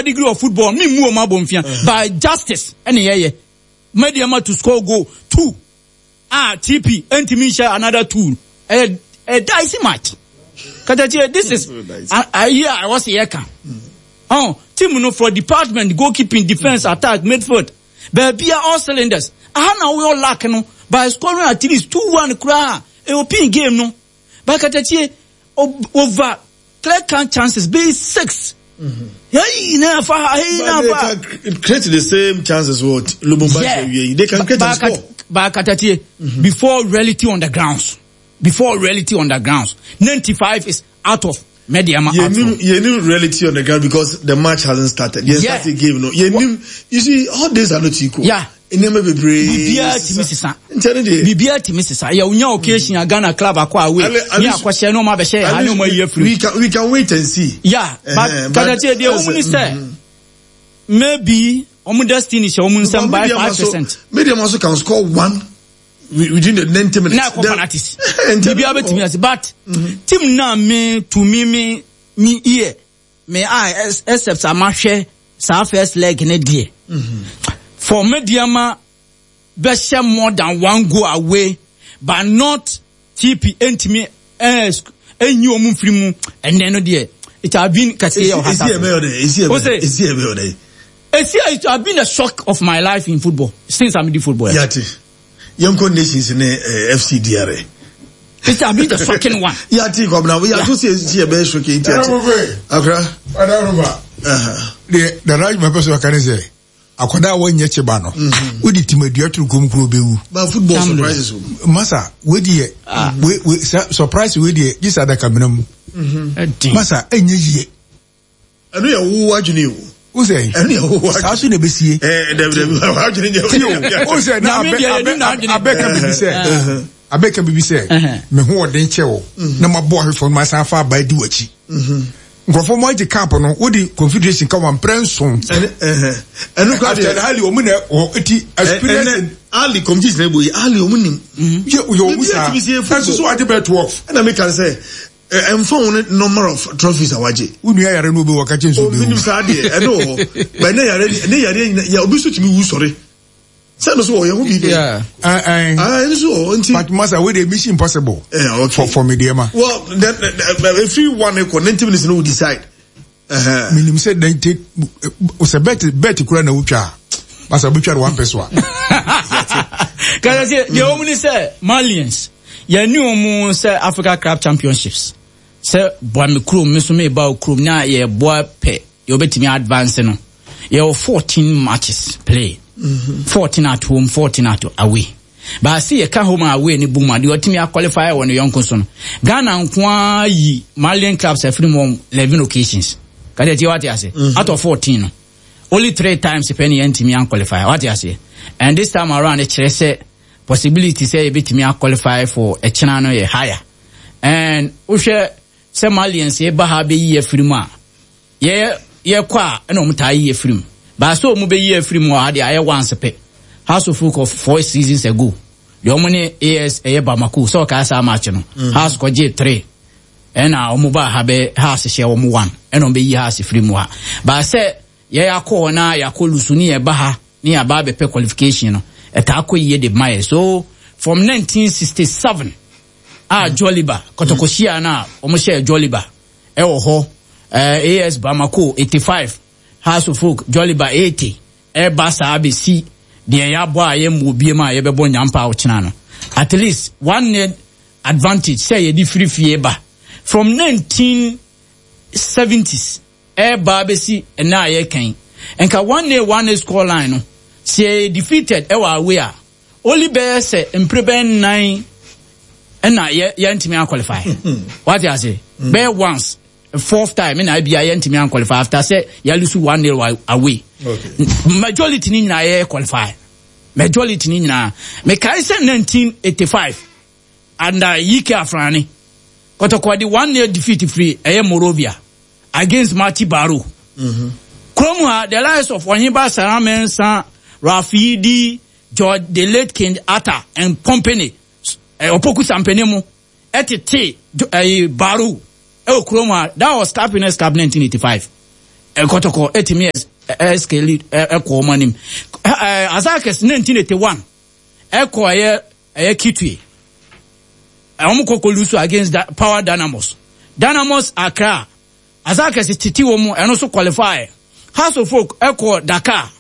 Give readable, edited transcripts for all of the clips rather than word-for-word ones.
pedigree of football mi mu wɔn abɔnfia by justice ɛna yɛyɛ Medeama to score goal two a TP ntumi nhyɛ another two ɛyɛ a dicey match katakyie this is ayi a ɛwɔ sɛ yɛka ɔn team no for department goalkeeping defence attack midfield baabi a all cylinders aha na wɔyɛ luck no by scoring at least 2-1 koraa ɛwɔ pin game no by katakyie over clear cut chances bɛyɛ six. Hey, na fa hey na fa. They can create the same chances what Lubumbashi yeah. They can create and score. Ba katatie before reality on the grounds. Before reality on the grounds. 95 is out of Medeama out. You knew reality on the ground because the match hasn't started. You yeah. started game no. You knew, you see all days are not equal. Yeah. Nneɛma bebree. Biribiara tumi sesa. Biribiara tumi sesa. Yɛ onya occasion a Ghana club akɔ away. Ne akɔhyɛ ne ɔmo abɛhyɛ yɛ ha ne ɔmo ayi afiri. We can wait and see. Yeah, but katakyie deɛ wɔn ni sɛ maybe ɔmo destiny hyɛ wɔn nsam by 5%. Medeama also can score one within the 90 minutes. Na ɛkɔ penalties. Biribiara bɛtumi ase but team na me to me me ear. Me a except sɛ mahwɛ saa first leg ne deɛ for Medeama bɛhyɛ more than one goal away but not TP ntumi ɛnyi wɔn mfiri mu ɛnɛ no deɛ it have been kɛseɛ yɛ ɔha sa esi it have been a shock of my life in football since I'm in football. Yate. Yɛnkɔ Nations ne eh, FC DR. It have been the shocking one. Yate kwabena yɛato sɛ esi ɛbɛyɛ shocking nti ate. Akora. Ɔdaroma. Deɛ dada adwuma pɛ so ɔka ne sɛ akwadaa a wɔnyɛ kyeba no mhm. wode timadua toro kom kuro bɛwu. Ba football surprises o. Masa wei deɛ ah. wei wei surprise wei deɛ gye sɛ adakamena mu. Mhm. Masa ɛnyɛ yie. Ɛno yɛ wo adwene o. O sɛ. Ɛno yɛ wo adwene. Saa so na ebesie. Ɛɛ dɛbi dɛbi adwene deɛ. Ti o o sɛ na abɛ abɛ abɛ ka bibi sɛ abɛ ka bibi sɛ me ho ɔden kyɛ o na ma bɔ ahwefo no ma san fa aba di w'akyi. Nkurɔfoɔ mo agye cap no wodi confederation ka wɔn mprɛ nson. Ɛno kura deɛ. After Ali wɔn na wɔ ti experience. Ali competition na ebo yi Ali wɔn nim. Yɛ wɔn mu saa ɛnso so agye bɛɛ 12. Ɛna mi kan sɛ. Ɛmfa ho ne number of trophies a wagye. Wo nua yare no obi wɔ ka kyɛn sɛ obi wu. Ominim saa deɛ ɛno wɔ hɔ. But ne yare ne yare nyina yɛ obi so tumi wu sɔre. Sɛ no so wɔ yɛn ho biribi. Ɛn. Ah ɛno so wɔ nti. But masa wey de mission impossible. Eh, okay. For me deɛ ma. Well then efiri one ekɔ 90 minutes no we decide. Menim sɛ 90 sɛ bet bet kura na wotwa a masa wobɛtwa no wampɛ so a. Kasa sɛ deɛ wɔn ni sɛ Malians. Yɛne wɔn sɛ Africa Club Championships sɛ boa me kurom me nso meba wo kurom na yɛboa pɛ yɛbɛtumi advance no. Yɛwɔ 14 matches play. 14 at home, 14 at away. Baasi yɛka home and away ne bom a deɛ ɔtumi aqualify wɔ ne yɔnko so no. Ghana nko ara yi Malian clubs afiri mu wɔn 11 occasions. Kade tie wate ase. Out of 14 no. Only three times pɛ ne yɛntumi anqualify. Wate ase. And this time around kyerɛ sɛ possibility sɛ yɛbɛtumi a qualify for ɛkyena no yɛ higher and wohwɛ sɛ Malians ba ha bɛyi afiri mu a yɛ yɛkɔ a ɛna wɔn taa yi afiri mu baasa wɔn bɛyi afiri mu a deɛ ayɛ once pɛ House of Folk of four seasons ago deɛ wɔn ne AS ɛyɛ Bamako sɛ ɔkaa saa match no mm. House kɔgye three ɛna wɔn ba ha bɛ House hyɛ wɔn one ɛna wɔn bɛyi House firi mu ha baasa yɛ akɔ hɔ na yɛakɔ lusu ne yɛba ha ne yɛaba abɛpɛ qualification no, ɛtaa kɔ yie de ma yɛ. So from 1967 a Joliba, kɔtɔkɔhyia no a wɔhyɛɛ Joliba ɛwɔ hɔ, eh, AS Bamako 85, Hearts of Oak, Joliba 80, ɛba saa bɛsi deɛ yɛabɔ a yɛmmɔ biem a yɛbɛbɔ nyampa a ɔkyena no. At least one net advantage sɛ yɛde firi fie ba. From 1970s Ɛreba abɛsi ɛnnɛ a yɛreka yi, nka one nil one nil score line no, sɛ yɛyɛ defeated ɛwɔ away a, only bɛyɛ sɛ mpere bɛyɛ nnan ɛna yɛ yɛntumi anqualify. Wate ase? Bɛyɛ once, fourth time ɛna ebia yɛntumi anqualify after sɛ yɛalusu one nil away. Okay. Majority ni nyinaa yɛ qualify. Majority ni nyinaa. Mekae sɛ 1985 under Yike Afrane, Kɔtɔkɔ de one nil defeat firi ɛyɛ Morovia against Mati Baro. Mm-hmm. Kurom ha, the likes of Ɔheba Sarah Mensah, Ralph Yidi, George the late King Arthur and company, eh, Opoku Sampene mu, ɛtete eh, Baro ɛwɔ kurom ha. That was Cup Winners' Cup 1985. Kɔtɔkɔ ɛtumi ɛskeli ɛkɔ wɔn anim. Azakes 1981 ɛkɔ ɛyɛ ɛyɛ Kitwe. Wɔn kɔ kɔ lose against da, Power Dynamos. Dynamos Accra. Azakes titi wɔn ɛno nso qualify. Hearts of Oak ɛkɔ Dakar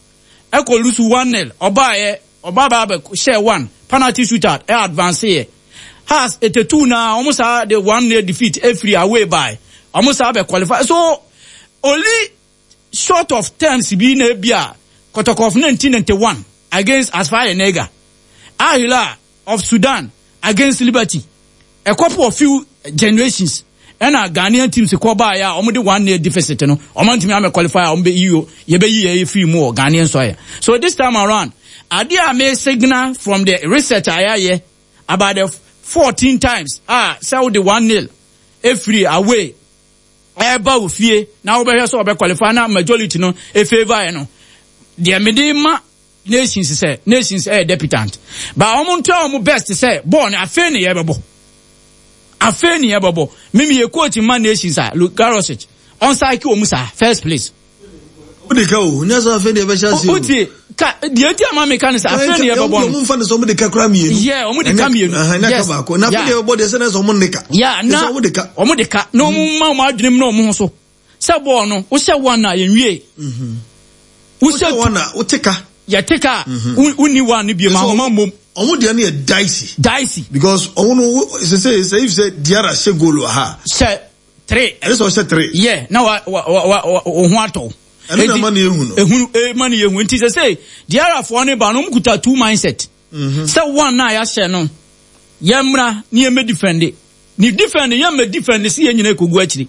ɛkɔ lose 1-0 ɔbaayɛ ɔba ba abɛ hyɛ 1 penalty shootout ɛ advance yɛ. Hearts 82 na wɔn saa de 1-0 defeat ɛfiri away by wɔn saa bɛ qualify. So only short of terms bi na ebi a Kotoko of 1991 against Asfar Nega, Al Hilal of Sudan against Liberty. A couple of few generations ɛna Ghanaian teams kɔ baeɛ a wɔde 1-0 deficit no wɔn ntumi amɛ qualify a wɔn bɛ yi yɛbɛyi yɛ firi mu wɔ Ghanaian soil. So this time around, adeɛ a me signal from the research a yɛayɛ about the 14 times a sɛ wode 1-0 efiri away ɛba wo fie na wobɛhwɛ sɛ ɔbɛ qualify na majority no efavour yɛ no deɛ mede ma nations sɛ nations ɛyɛ deputant ba wɔn ntua wɔn best sɛ bɔɔl no afei ne yɛbɛbɔ afei ne yɛbɛbɔ mimi yɛ coach ma nations a Luka Rosic ɔnsaaki wɔn saa first place. O de ka o nyɛ sɛ afei deɛ ɛbɛhyɛ ase o. O tie ka deɛ nti ama mi ka ne sɛ afei ne yɛbɛbɔ no. Ɔmo nfa ne sɛ ɔmo de ka kura mmienu. Yɛ ɔmo de ka mmienu. Yes baako na afei deɛ ɛbɛbɔ deɛ sɛ ne sɛ ɔmo ne ka. Ya na ɔmo de ka. Ɔmo de ka na ɔmo ma ɔmo adwene mu na ɔmo ho so sɛ bɔɔl no wohyɛ one a yɛn wie. Wohyɛ one a wote ka. Yɛte ka wonni one no bi ma ahoma mmom. Ɔmo deɛ no yɛ dicey. Dicey. Because ɔmo no sɛ sɛ sɛ if sɛ Diarra hyɛ goal wɔ ha. Hyɛ three. Ɛsɛ sɛ ɔhyɛ three. Yɛ na wa wa wa wa wo ho atɔ. Ɛno na ma ne ehu no. Ehunu ma ne ehu nti sɛ sɛ Diarrafoɔ ne ba no ɔmo kuta two mindset. Sɛ one na yɛahyɛ no yɛmmra ne yɛmmɛ defend ne defend yɛmmɛ defend sɛ yɛn nyinaa ekogu akyiri.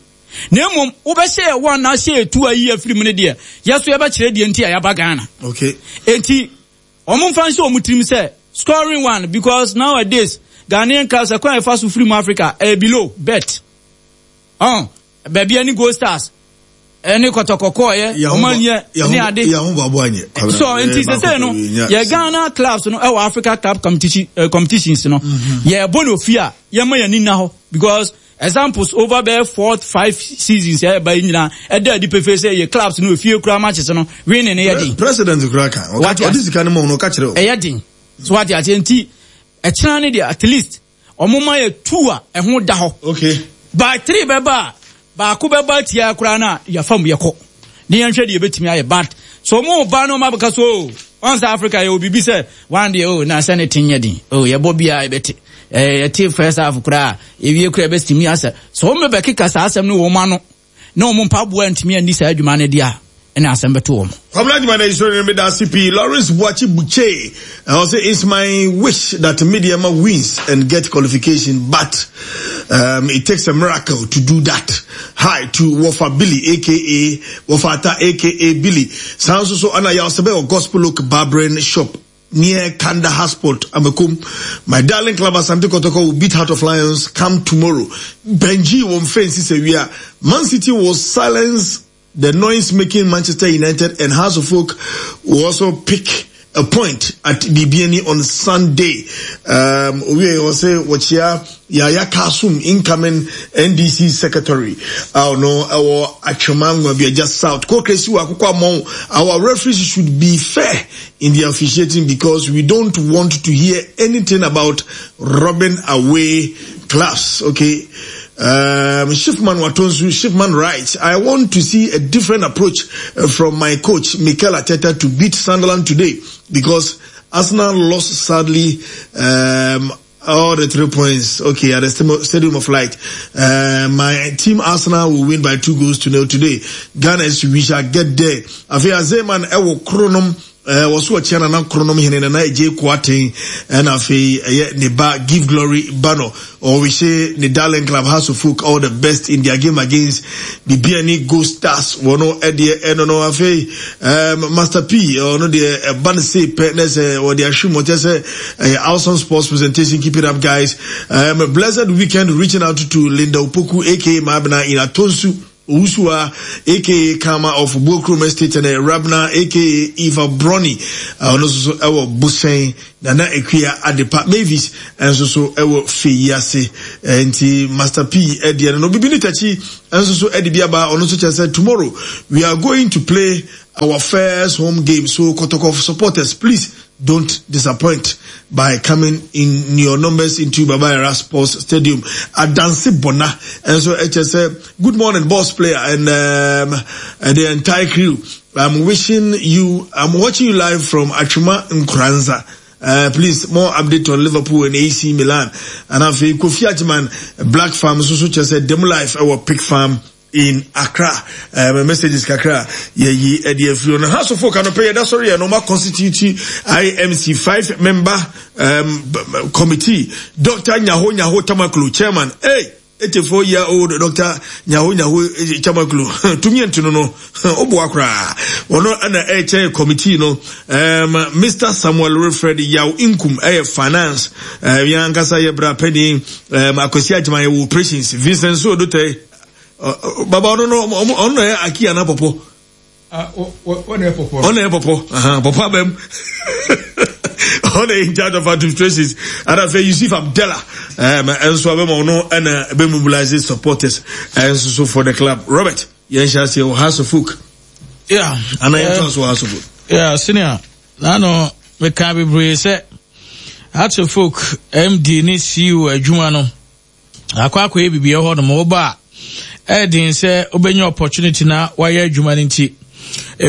Na mmom wobɛhyɛ yɛ one na ahyɛ yɛ two ayi afiri mu no deɛ yɛ so yɛbɛkyerɛ deɛ nti a yɛaba Ghana. Okay. Enti wɔn mfa nhyɛ wɔn tirim sɛ scoring one because nowadays Ghanaian clubs ɛkwan a yɛfa so firi mu Africa ɛyɛ below bet. Ɔn baabi ɛne Gold Stars ɛne kɔtɔkɔkɔɔ yɛ wɔn anyɛ ne ade. So nti sese no yɛ Ghana clubs no ɛwɔ Africa club competition competitions no yɛ bɔ no ofie a yɛma yɛn ani nna hɔ because examples over bɛyɛ four five seasons ɛyɛ ba yi nyinaa ɛda adi pefee sɛ yɛ clubs no efie kura matches no winning no yɛ den. President kura kan ɔde sika no ma ɔno ɔka kyerɛ o. Ɛyɛ den so wate aseɛ nti ɛkyena ne deɛ at least ɔmo ma yɛ two a ɛho da hɔ. Okay. By three bɛba a baako bɛba atia koraa na yɛfa mu yɛkɔ ne yɛnhwɛ deɛ yɛbɛtumi ayɛ but so ɔmo ba na ɔmo abɛka so o ɔn sɛ Africa yɛwɔ biribi sɛ one deɛ o na sɛ ne te nyɛ den o yɛbɔ biara yɛbɛte ɛɛ yɛte first half koraa ewie koraa yɛbɛtumi asɛ so ɔmo bɛkeka saa asɛm no wɔ ɔmo ano na ɔmo mpaboa ntumi anni saa adwuma no deɛ a ɛna asɛm bɛto wɔn. Kwabena Adwuma na Isoro no meda ase pii. Lawrence Boakye Buche ɔse it's my wish that Medeama wins and get qualification but um, it takes a miracle to do that. Hi to Wofa Billy aka Wofa Ata aka Billy. Saa nso so ana yaw sɛ bɛyɛ Gospel Oak Barbering Shop near Kandahar Sport Amakom. My darling club Asante Kotoko will beat Heart of Lions come tomorrow. Benji won't fence sɛ wia. Man City will silence the noise making Manchester United and House of Folk will also pick a point at Bibiani on Sunday. Um, we also watch Yaya Kasum, incoming NDC secretary. I know our Achomangwa be just south. Kokresi Our referees should be fair in the officiating because we don't want to hear anything about robbing away clubs. Okay. Um, Shifman Watonsu, Shifman writes, I want to see a different approach uh, from my coach, Mikel Arteta, to beat Sunderland today because Arsenal lost sadly um, all the three points. Okay, at the Stadium of Light. Uh, my team Arsenal will win by two goals to nil today. Ghana, we shall get there. Afia Zeman, Ewo Kronom, Eh, wɔso ɔkyea nana kronom hene nana agye koaten ɛna afei ɛyɛ ne ba give glory ba no ɔrehyɛ ne darling club house of folk all the best in their game against bibiani gold stars wɔn ɛdeɛ ɛno no afei um, master p ɔno deɛ ɛba no sei pɛ na sɛ wɔde ahwe mu ɔkyɛ sɛ ɛyɛ awesome sports presentation keep it up guys um, blessed weekend reaching out to linda opoku aka maabena in atonsu. Owusua aka Kama of Buokrom Estate ne Rabna aka Eva Brony ɔno nso so ɛwɔ Bosɛn Nana Akua Adepa Mavis nso so ɛwɔ Feyi ase nti Master P ɛdeɛ no no Bibi ne Takyi nso so ɛde bi aba ɔno nso kyerɛ sɛ tomorrow we are going to play our first home game so Kotoko supporters please Don't disappoint by coming in your numbers into Baba Yara Sports Stadium. Adansi Bona. And so it just said, good morning, boss player and um, and the entire crew. I'm wishing you, I'm watching you live from Achuma Nkranza. Uh, please, more update on Liverpool and AC Milan. And I've Kofi Ajiman, Black Farm, so so just said, Demo Life, our Pig Farm in Accra. Um, messages kakra yɛyi ɛde afiri no. House of Folk anɔpɛ yɛda sɔre yɛ no ma constitute IMC five member um, committee. Dr. Nyaho Nyaho Tamaklo, chairman. Hey, 84 year old Dr. Nyaho Nyaho eh, Tamaklo. Tumi ntono no, oboa koraa. Ɔno ɛna ɛkyɛ committee no. Um, Mr. Samuel Wilfred Yaw Inkum ɛyɛ finance. Um, yɛn ankasa yɛ bra panyin. Um, Akwasi Agyeman yɛ operations. Vincent Sodote baba ɔno no ɔno na yɛ aki ana pɔpɔ ɔna yɛ pɔpɔ ɔna yɛ pɔpɔ pɔpɔ abɛm ɔna yɛ in charge of administrations ɛna afei Yusuf Abdallah ɛnso abɛm ɔno ɛna ɛbɛ mobilize supporters ɛnso so for the club Robert yɛn hyɛ aseɛ wɔ House of Folk yeah ana yɛn to so wɔ House of Folk yeah senior nano meka bebree sɛ House of Folk MD ne CEO adwuma no akɔ akɔyɛ biribi ɛhɔ nom woba a ɛyɛ den sɛ wobɛnya opportunity na wayɛ adwuma no nti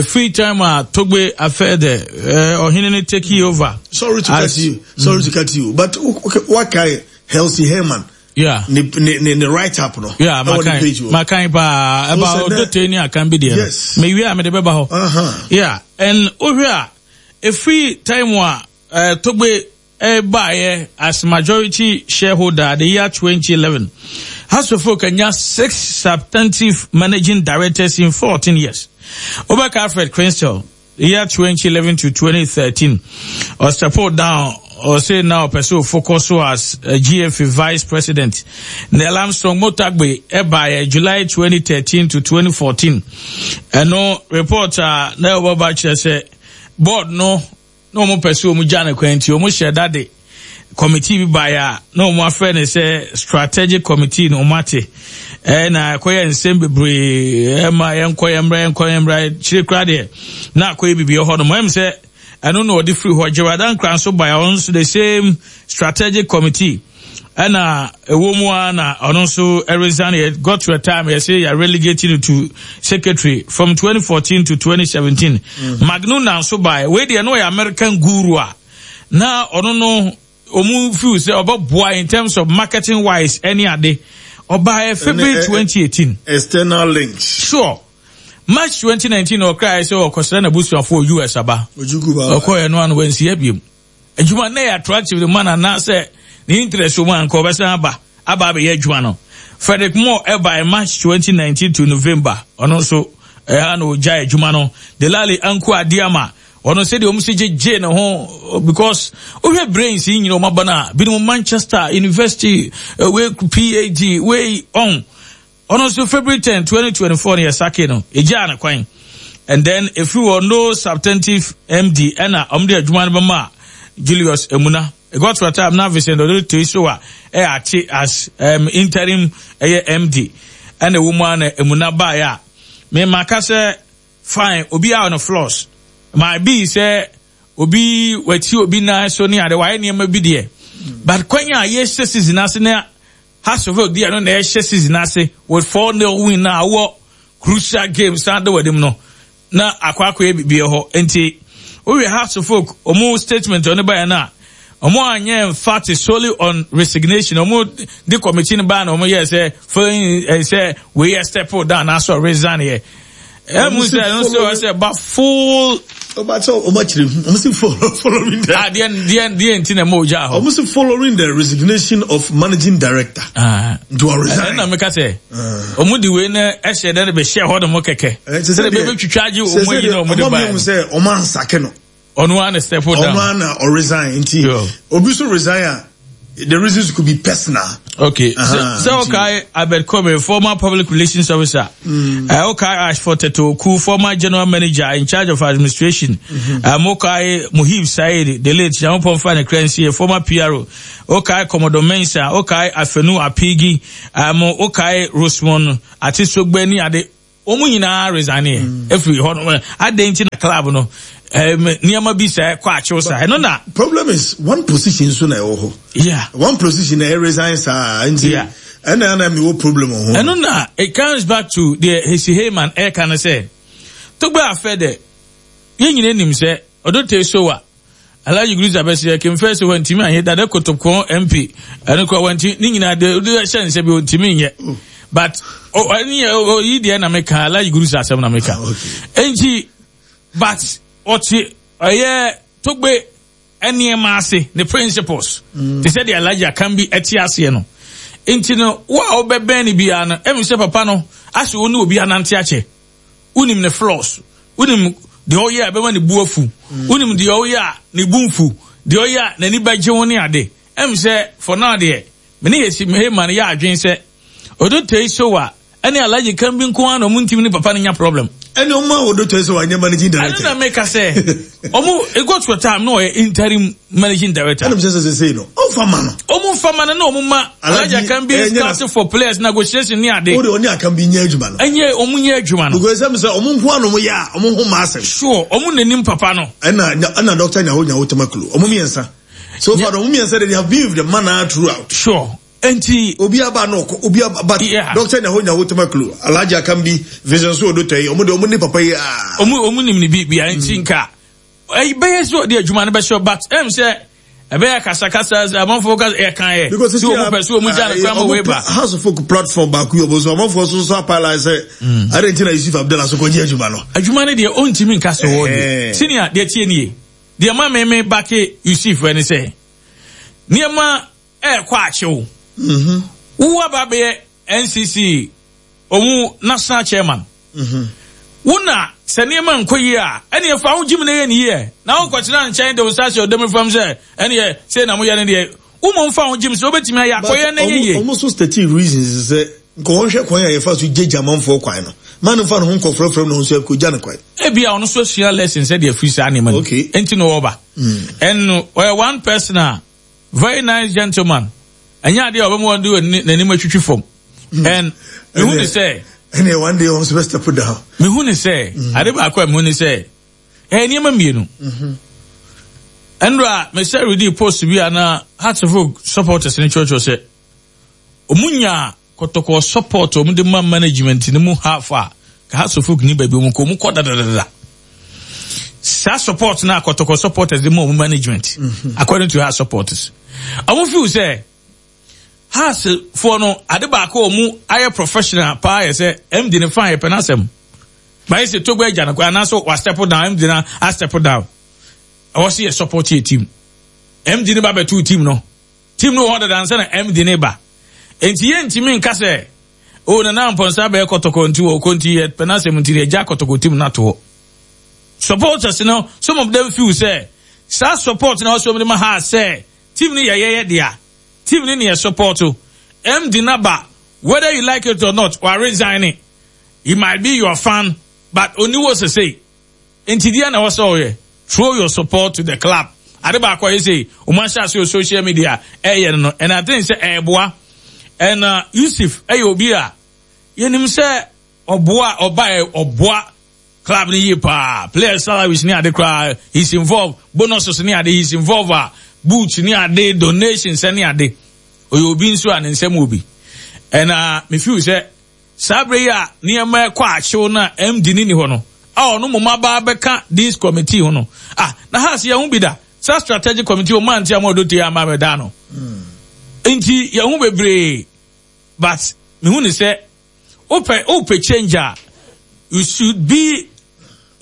free time a togbe afɛ dɛ ɔhene no take over. Sorry to cut you. Sorry to cut you. But okay, what kind Helsi Herman? Yeah. Ne ne ne ne write up no. Yeah, makan makan paa ɛba ɔdɔtɛ ni akan bi deɛ. Yes. Mewie a mede bɛba hɔ. Yeah, and wohwɛ a efiri time a togbe baeɛ as majority shareholder the year 2011. Hearts of Oak anya six substantive managing directors in 14 years. Wobɛka Alfred Crystal, the year 2011 to 2013. Ɔstep down, ɔse na ɔpɛ sɛ ɔfocus so as a GFA vice president. Neil Armstrong Motagbe ɛbaeɛ July 2013 to 2014. Ɛno report a na ɛwɔ ba kyerɛ sɛ board no na wɔn pɛ sɛ wɔn gya no kwan nti wɔn hyɛ da de committee bi baeɛ a na wɔn afrɛ no sɛ strategic committee na wɔn ate ɛna ɛkɔyɛ nsɛm bebree ɛma yɛnkɔ yɛn mmra yɛnkɔ yɛn mmra kyerɛ kura deɛ na akɔyɛ biribi ɛhɔ nom ɛm sɛ ɛno na ɔde firi hɔ Gerard Ankra nso baeɛ ɔno nso the same strategic committee ɛna ɛwɔ mu ara na ɔno nso resign yɛ got to a time yɛsɛ yɛ relegating it to secretary from 2014 to 2017 mm. Magnuna nso baeɛ wei deɛ no ɔyɛ American guru a na ɔno no ɔmu feel sɛ ɔbɛboa in terms of marketing wise ɛne ade ɔbaeɛ February 2018 external links sure March 2019 ɔkraeɛ sɛ ɔkɔsra n'abusuafoɔ US aba ɔkɔɛ no ano wansi abiem Adwuma no yɛ attractive de ma no anaasɛ ne interest wɔ mu a anka ɔbɛsan aba aba abɛyɛ adwuma no. Frederick Moore ɛbae March 2019 to November ɔno nso ɛha na ɔgyae adwuma no. Delali Anku Adiama ɔno sɛdeɛ wɔn si gyegye ne ho because wohwɛ brains yi nyina wɔn aba no a binom Manchester University wei PhD wei ɔn Ɔno nso February 10, 2024 no yɛ sake no, yɛgyaa no kwan. And then ɛfiri hɔ no substantive MD ɛna wɔn de adwuma no bɛma Julius Emuna. It got to a time na Vincent Odotei so a ɛyɛ ate as um, interim ɛyɛ MD. Ɛna ɛwɔ mu a na Emuna baeɛ a me maka sɛ fine obi a ɔno flaws. My be sɛ obi wati obi nan so ne ade wayɛ nneɛma bi deɛ. But kwan a yɛhyɛ season ase na Hasselhoff deɛ no na ɛhyɛ season ase with 4-0 win na awɔ crucial game san de w'anim no na akɔ akɔyɛ biribi hɔ nti wohwɛ Hasselhoff ɔmo statement ɔno baeɛ no a ɔmo anyɛ emphatic solely on resignation ɔmo de committee no baa na ɔmo yɛ sɛ following sɛ wei yɛ step down anaasɛ resign yɛ ɛmu sɛ ɛno sɛ ɔsɛ ba full. Ọba sɛ ọmọ akyerɛ mu ọmọ si following the. Ah deɛ deɛ deɛ nti na ɛma ogya hɔ. Ọmọ si following the resignation of managing director. Ah. Nti wɔ resign. Ɛna mi ka sɛ ɔmo di wei na ɛhyɛ dɛ de bɛ hyɛ hɔ nom kɛkɛ. Sɛ de bɛ bɛ twitwa agye ɔmo ayi na ɔmo de ba. Ɔmo mi sɛ ɔmo ansake no. Ɔno ara na step down. Ɔno ara na ɔresign nti obi so resign a. the reasons could be personal. Okay. Sɛ ɔkae Albert Kome, former public relations officer. Ɔkae Ashford Tetoku, former general manager in charge of administration. Ɔkae Muhib Said, the late Nyankopɔn fa ne kra nsie, former PRO. Ɔkae Commodore Mensah, ɔkae Afenu Apigi, ɔkae Rosemond Atesogbe ne ade. Wɔn nyinaa resigneɛ mm. efiri hɔ no adan nti na club no nneɛma bi sɛ kɔ akyew saa ɛno na. Problem is one position so na ɛwɔ hɔ. Yeah. One position na ɛ resign saa nti. Yeah. Ɛna ɛna mi wɔ problem wɔ ho. Ɛno na it comes back to deɛ Hesi Heyman ɛka no sɛ Togbe afɛ dɛ yɛn nyinaa nim sɛ Odote Sowa. Alhaji Grusah bɛsɛ kemfɛ sɛ wantumi anyɛ dada kotokon MP ɛno kora wanti ne nyinaa de de hyɛ nsɛ bi ontumi nyɛ but ɔne ɔyi deɛ na meka Alhaji Grusah asɛm na meka ah, enti but ɔte ɔyɛ togbe nneɛma ase ne principles mm. te sɛ deɛ Alhaji Akambi ɛte aseɛ no nti no wo a wobɛbɛn no biara no ɛmi sɛ papa no asɛ wo ne obi anante akyɛ Wonim ne flaws. Wonim deɛ ɔyɛ a ɛbɛma ne bu afu. Wonim deɛ ɔyɛ a ne bu mfu. Deɛ ɔyɛ a n'ani bɛgye ho ne ade. Ɛm sɛ for now deɛ, me ne Yesi Heyman yɛ adwene sɛ Odotei Sowa ne Alhaji Kambi nko ara na wɔn ntumi ne papa no nya problem. Ɛne wɔn a Odotei Sowa nyɛ managing director. Ɛno na meka sɛ wɔn it got to a time na ɔyɛ interim managing director. Ɛna sɛ sɛ sɛ no ɔnfa ma no. Ɔmo nfa ma no na ɔmo ma Alhaji Akambi eh, scout for players negotiation ne ade. O de ɔne Akambi nyɛ adwuma no. Ɛnyɛ ɔmo nyɛ adwuma no. Because ɛsɛ sɛ ɔmo nko ano ɔmo yɛ a ɔmo ho ma asɛm. Sure ɔmo n'anim papa no. Ɛna ɛna Doctor Nyaho Nyaho Tamaklo ɔmo mmiɛnsa. So far ɔmo mmiɛnsa de they have been with the man throughout. Sure. Nti. Obi aba na ɔkɔ obi aba but yeah. Doctor Nyaho Nyaho Tamaklo Alhaji Akambi Vision so odo tɔ yi ɔmo de ɔmo ne papa yi aa. Ɔmo ɔmo nim ne bi bia nti nka. Ɛbɛyɛ sɛ ɔde adwuma no bɛhyɛ but ɛm sɛ ɛbɛyɛ kasakasa sɛ amanfoɔ ka ɛka yɛ sɛ wɔn pɛ sɛ wɔn gya no kwan ma wei ba. House of Folk platform baako yi ɔbɔ so amanfoɔ so nso apaala sɛ mm. adɛn nti na Yusuf Abdallah so kɔgye adwuma no. Adwuma no deɛ ɔntumi nka sɛ wɔ deɛ senior deɛ tie nie deɛ ma meme bake Yusuf ɛne sɛ nneɛma ɛɛkɔ akyew mm-hmm. wo aba bɛyɛ NCC ɔmu national chairman. Wo na sɛ nneɛma nkɔ yie a, ɛneɛ fa wo gyim na yɛ ne yie. Na wonkɔtena nkyɛn de wo nsa ahyɛ ɔdam fam sɛ ɛneɛ sei na moyɛ no deɛ. Wo mmom fa wo gyim sɛ wobɛtumi ayɛ akɔyɛ na ɛnyɛ yie. But ɔmo nso statii reasons sɛ nka wɔnhwɛ kwan a yɛfa so gyagya amanfoɔ kwan no. Ma no mfa ne ho nkɔfrafra mu na ɔno nso akɔgya no kwan. Ebia ɔno nso asua lesson sɛdeɛ afiri saa nneɛma no mu nti na ɔreba. And ɔyɛ one person a Very nice gentleman. Ɛnyɛ adeɛ a ɔbɛma wɔn de n'anim atwitwi fam. Hmm. And mehu ne sɛ. Ɛnna one day wɔn nso bɛ step down. Mehu ne sɛ hmm. ade baako a mehu ne sɛ ɛyɛ nneɛma mmienu. Hmm. Ɛnura mesɛ redi post bi a na Hearts of Oak supporters ne kyerɛkyerɛ sɛ wɔn nya Kɔtɔkɔ support a wɔde ma management no mu half a ka Hearts of Oak ni baabi wɔn kɔ wɔn kɔ dadadada saa support na Kɔtɔkɔ supporters de ma wɔn management mm -hmm. according to Hearts supporters wɔn feel sɛ Hearts foɔ no ade baako wɔn ayɛ professional paa yɛ sɛ MD ne fan yɛ pɛ n'asɛm bayɛ sɛ Togo agya no kɔ anaasɛ wa step down MD na a step down ɛwɔ sɛ yɛ support yɛ team MD ne ba bɛtu team no. Team no wɔ hɔ dada ansa na MD no reba. Enti yɛntumi nka sɛ, oh, Nana Amponsah abɛyɛ kɔtɔkɔ nti wɔkɔ nti yɛpɛ n'asɛm nti yɛgya kɔtɔkɔ team no ato hɔ. Supporters no, some of them feel sɛ saa support na wɔsɛ wɔn de ma ha sɛ team no yɛ yɛyɛ dea. Team no ne yɛ support. MD no aba, whether you like it or not, wa resign. He might be your fan, but onni hɔ sesei. Nti deɛ na ɛwɔ sɛ ɔyɛ? Throw your support to the club. Ade baako a ɛyɛ sɛ wɔn ahyɛ ase wɔ social media ɛyɛ no no, and I think sɛ ɛɛboa. And uh, Yusuf ɛyɛ obi a yɛnim sɛ ɔboa ɔba ɔboa club no yie paa. Players salaries ne ade koraa he's involved, bonuses ne ade he's involved a boots ne ade donations ne ade. Ɔyɛ obi nso a ne nsɛm wɔ bi. And uh, me feel sɛ Saa bere yi a nneɛma rekɔ ahyew no a MD no nni hɔ no, a ɔno mmom aba abɛka this committee ho no, ah, na ha se yɛn ho bi da. Saa strategic committee wɔn ante ama ɔdɔ tie ama abɛda ano. Nti yɛn ho bebree, but mehu ne sɛ wopɛ wopɛ change a, you should be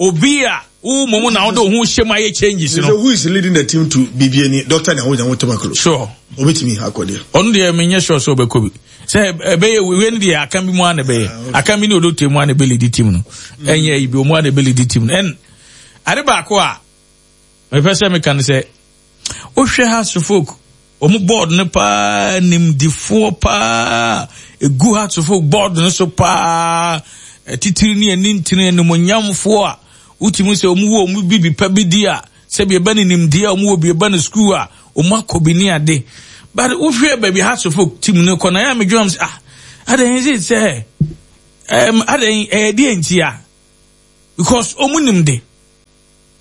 obi a wo mmom na wode wo ho hyɛ mu ayɛ changes no. Who is leading the team to Bibiani? Dr. Nyaho Nyaho Tamaklo. Sure. Obetumi akɔ deɛ. Ɔno deɛ menyɛ sure sɛ ɔbɛkɔ bi. Sɛ ɛbɛyɛ wei no deɛ aka bi mu a na ɛbɛyɛ. Ah, aka bi ne odote mu a na ɛbɛ lead team no. Mm. Ɛnyɛ yi bi ɔmu a na ɛbɛ lead team no. Ɛn ade baako a mepɛ sɛ meka no sɛ wohwɛ ha so folk. wɔn board no paa nimdifoɔ paa egu Hearts of Oak board no so paa titiri ne ani ntini animonyamfoɔ a wotumi sɛ wɔn wɔ wɔn bibi pa bi di a sɛbi ɛbɛ ne nimdeɛ a wɔn wɔ bi ɛbɛ ne sukuu a wɔn akɔ bi ne ade but wohwɛ baabi Hearts of Oak team no kɔ na yɛ a medwene sɛ ah adan sɛ sɛ ɛm adan ɛyɛ deɛ nti a because wɔn nim de.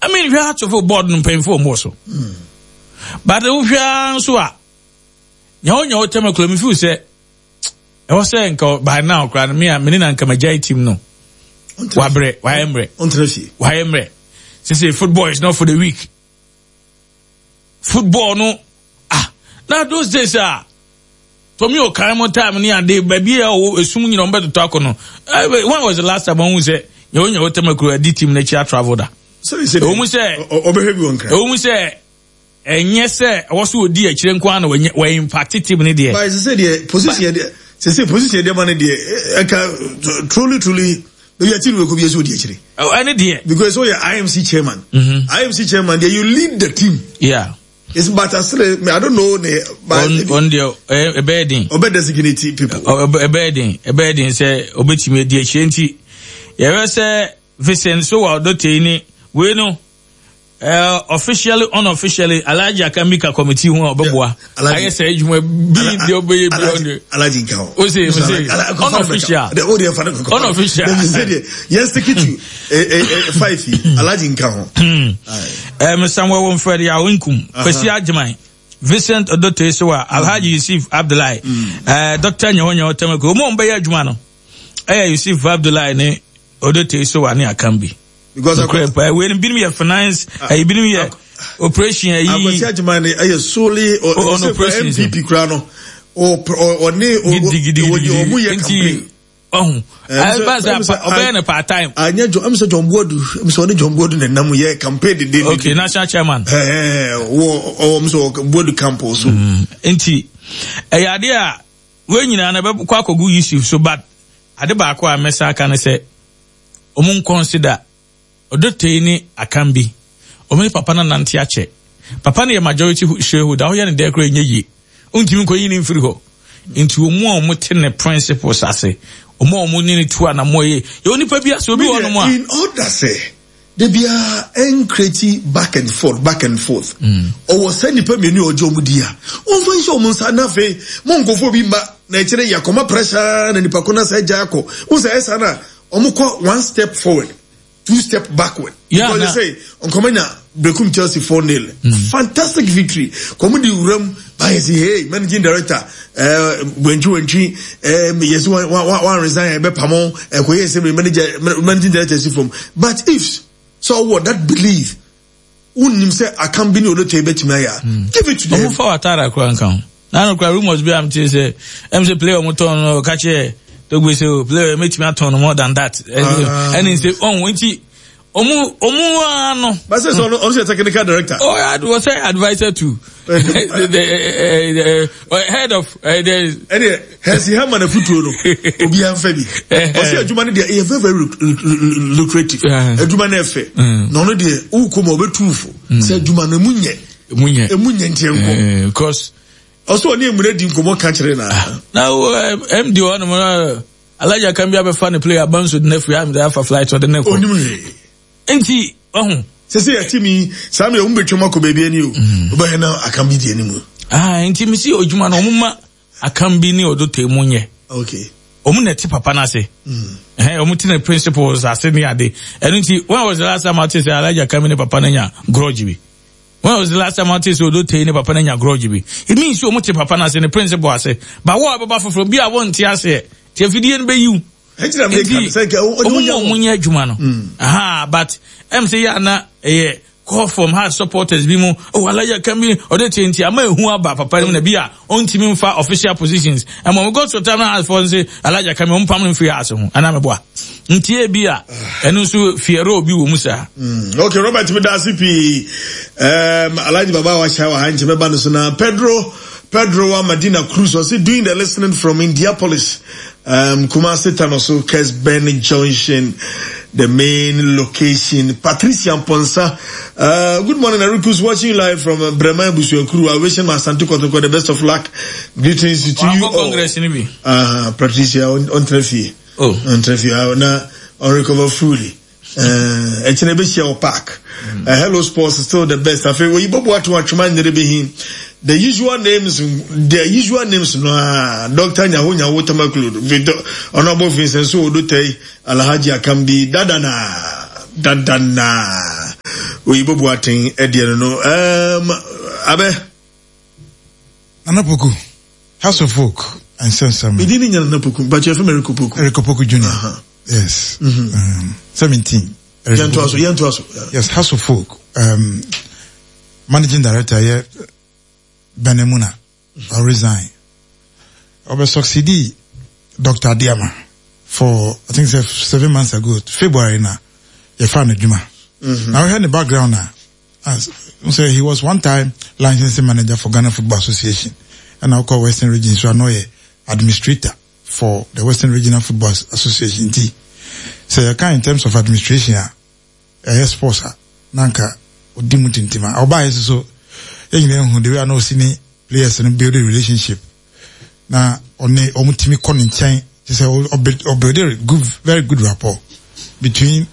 I mean hwɛ atofo board no mpanyinfo wɔn wɔ so but wohwɛ ara nso a nea ɔnya ɔtɛm akura mi feel sɛ ɛwɔ sɛ nka by now koraa no me a me ne na nka magyae team no wabrɛ wayɛ mmerɛ wayɛ mmerɛ sese football is not for the weak football no ah na those days a Tommy Okan mo time ne ade baabi a ɔwɔ esum nyina ɔmo bɛtotɔ akɔ no eh, when was the last time ɔmo sɛ nyawo nyawo tɛmɛ adi team n'akyi atravel da ɛwɔ mu sɛ ɔbɛhwɛ bi wɔn kra ɛwɔ mu sɛ ɛnyɛ sɛ ɛwɔ so odi akyire nko ara na wɔnyɛ wɔ impact team ne deɛ. Báyìí sese deɛ position deɛ sese position deɛ ma ne deɛ ɛka truly truly baabi a team wɔ kɔ bi ɛsɛ odi akyire. Ɛne deɛ. Because ɔyɛ IMC chairman. Mm -hmm. IMC chairman deɛ you lead the team. Yeah. It's but asere I don't know ne. On deɛ ɛbɛyɛ den. Ɔbɛ designate people. Ɛbɛyɛ den ɛbɛyɛ den sɛ ɔbɛtumi adi akyire nti yɛbɛ sɛ Vincent Sowah Odotei ni wei no uh, officially unofficially Alhaji Akamika committee ho a ɔbɛboa ayɛ sɛ adwuma bi deɛ ɔbɛyɛ bi ɔno Alhaji nka ho o se o se unofficial unofficial yɛn stick to five yi Alhaji nka ho. Ɛɛ Samuel Womfred Yaw Nkum Kwesi Agyeman Vincent Odote Sewa Alhaji Yusuf Abdullahi ɛɛ Dr. Nyehonyeho Temeko wɔn a wɔbɛyɛ adwuma no ɛyɛ Yusuf Abdullahi ne Odote Sewa ne Akambi. Because akɔ pa wei no binom yɛ finance ɛyi binom yɛ operation ɛyi. Akwasi Agyeman ne ɛyɛ solely on operation NPP kura no ɔne ɔmo yɛ campaign. Ɔho ɛba sɛ ɔbɛyɛ no part time. Anyɛ John ɛmu sɛ John Boadu ɛmu sɛ ɔne John Boadu na nam yɛ campaign dede. Okay, national chairman. Ɛɛ wɔ ɔwɔ mu sɛ Boadu camp so. Nti ɛyɛ adeɛ a wei nyinaa na ɛbɛkɔ akɔgu Yusuf so but ade baako a mɛsa aka ne sɛ ɔmo nkɔnsida Odotei ne Akambi. Ɔmo ne papa no anante akyɛ. Papa no yɛ majority shareholder, woyɛ no dɛn koraa ɛnyɛ yie. Wontumi nkɔyi no mfiri hɔ. Nti ɔmo a ɔmo te ne principles ase, ɔmo a ɔmo ne no tu anamɔ yɛ, yɛwɔ nipa bi ase, obi wɔ hɔnom a. In order sɛ da biara ɛnkreti back and forth, back and forth. Ɔwɔ saa nipa mmienu a ɔgye ɔmo di a, ɔmfa nhyɛ ɔmo nsa na afei mo nkurɔfoɔ bi mma na ɛkyerɛ yɛakɔma pressure na nipa ko no asa agya akɔ. Wohu sɛ ɛyɛ saa no a, Wɔn kɔ one step forward, two step backward. Yeah, because they say Nkomanya Bekum Chelsea 4 0. Mm. Fantastic victory. Kɔmu di wuram bayɛ si hey managing director eh wentwi wentwi eh yes one one one resign ebe pamo eh koye se manager managing director si from. But if so what that belief Wonnim sɛ akam bi ne odotɔ yi bɛtumi ayɛ a, hmm. give it to them. Ɔmo fa Watara kura nka ho. Na no kura rumors bi a mete sɛ ɛm sɛ player ɔmo tɔn no ɔka kyerɛ Togbe sɛ o oh, player mɛtumi atɔn no more than that. Ah. Ɛne sɛ ɔho nti ɔmo ɔmo ara no. Bàtɛ sɛ ɔno ɔno sɛ technical director. Oh, ɔsɛ adviser to the head of. Ɛdeɛ Hɛsi hɛma na futuo no obiara nfa bi. Ɔsɛ adwuma no deɛ ɛyɛ very very lucrative. Adwuma no ɛfɛ. Mm. Na ɔno deɛ wokɔ mu a ɔbɛtu fo. Mm. Sɛ adwuma no emu nyɛ. Emu nyɛ. Emu nyɛ nti nkɔ. Because ɔsɛ ɔne emuna di nkɔmɔ ka kyerɛ na. Ah, na MD hɔ nom na Alaja kan bi abɛfa ne player abanso de n'afiri amde afa flight ɔde ne kɔ. Onim hwee. Nti ɔho. Sese yɛte mi saa mi ɔmo betwam akɔ baabi ani o. Ɔbɛhɛ na akam bi di anim. Ah nti mi si odwuma no ɔmo ma. Akam bi ne Odotei mu nyɛ. Okay. Wɔn na ɛte papa no ase. Mm. Ɛhɛn, wɔn te ne principles ase ne ade. Ɛno nti, when was the last time ate sɛ Alhaji Akam ne papa no nya grudge bi? When was the last time ate sɛ Odotei ne papa no nya grudge bi? It means sɛ wɔn te papa no ase, ne principle ase. Ba wo a bɛba foforɔ bi a wɔnte aseɛ, te afidie no bɛyiw. Nti, wɔn mu a wɔn nyɛ adwuma no. Mm. Aha, but ɛm sɛ yɛ ana ɛyɛ call from heart supporters bi mu oh alaya kan bi ɔde tie nti ama ehu aba papa no mu na bi a ɔntumi nfa official positions ɛmɔ mo go to time na heart for nse alaya kan bi ɔmo pam no mfiri house ho anaa mɛboa nti ebi a ɛno nso fiɛrɛ obi wɔ mu saa. Mm, okay Robert mi da ase pii um, Alhaji Baba wa hyɛ wɔ ha nkyɛn mɛba no so na Pedro Pedro wa Madina Cruz ɔsi doing the listening from Indianapolis um, Kumasi Tanoso Kesben Junction. the main location. Patricia Mponsa, uh, good morning, Erikus, watching you live from uh, Bremen Busuakuru. I wish my Asante Kotoko the best of luck. Greetings to you all. Congress ni bi. Uh, Patricia, on, on Trefi. Oh. On Trefi, uh, na, on recover fully. Eh, ɛkyena ɛbɛhyia wɔ park. Mm. Uh, Hello Sports is still the best. Afei oyi bɔbɔ ato atwoma nyere bi hin. The usual names, the usual names no ah, Dr. Nyaho Nyaho Tamakulu, Victor Honorable Vincent So Odotei, Alhaji Akambi, Dadana, Dadana. Oyi bɔbɔ aten ɛdeɛ no no. Um, abɛ. Nana Poku, House of Folk, nsɛnsɛm. Medi ne nya Nana Poku, but yɛfrɛ me Eric Opoku. Eric Opoku Junior. Uh -huh. Yes. Mm -hmm. um, 17. Yɛntoa so, yɛntoa so. Yes, House of Folk. Um, managing director yɛ Benemuna. Mm-hmm. resign. Ɔbɛ succeed Dr. Adiama for I think say seven months ago, February na yɛfa no adwuma. Mm-hmm. Na wohwɛ ne background na as so he was one time licensing manager for Ghana Football Association ɛna ɔkɔ Western Region so ano yɛ administrator for the Western Regional Football Association nti sɛ yɛka in terms of administration a ɛyɛ sports a na anka ɔdi mu tintim a ɔbaeɛ nso so yɛn nyinaa hu the way a na ɔsi ne players no build relationship na ɔne wɔn tumi kɔ ne nkyɛn te sɛ ɔbuild good very good rapport between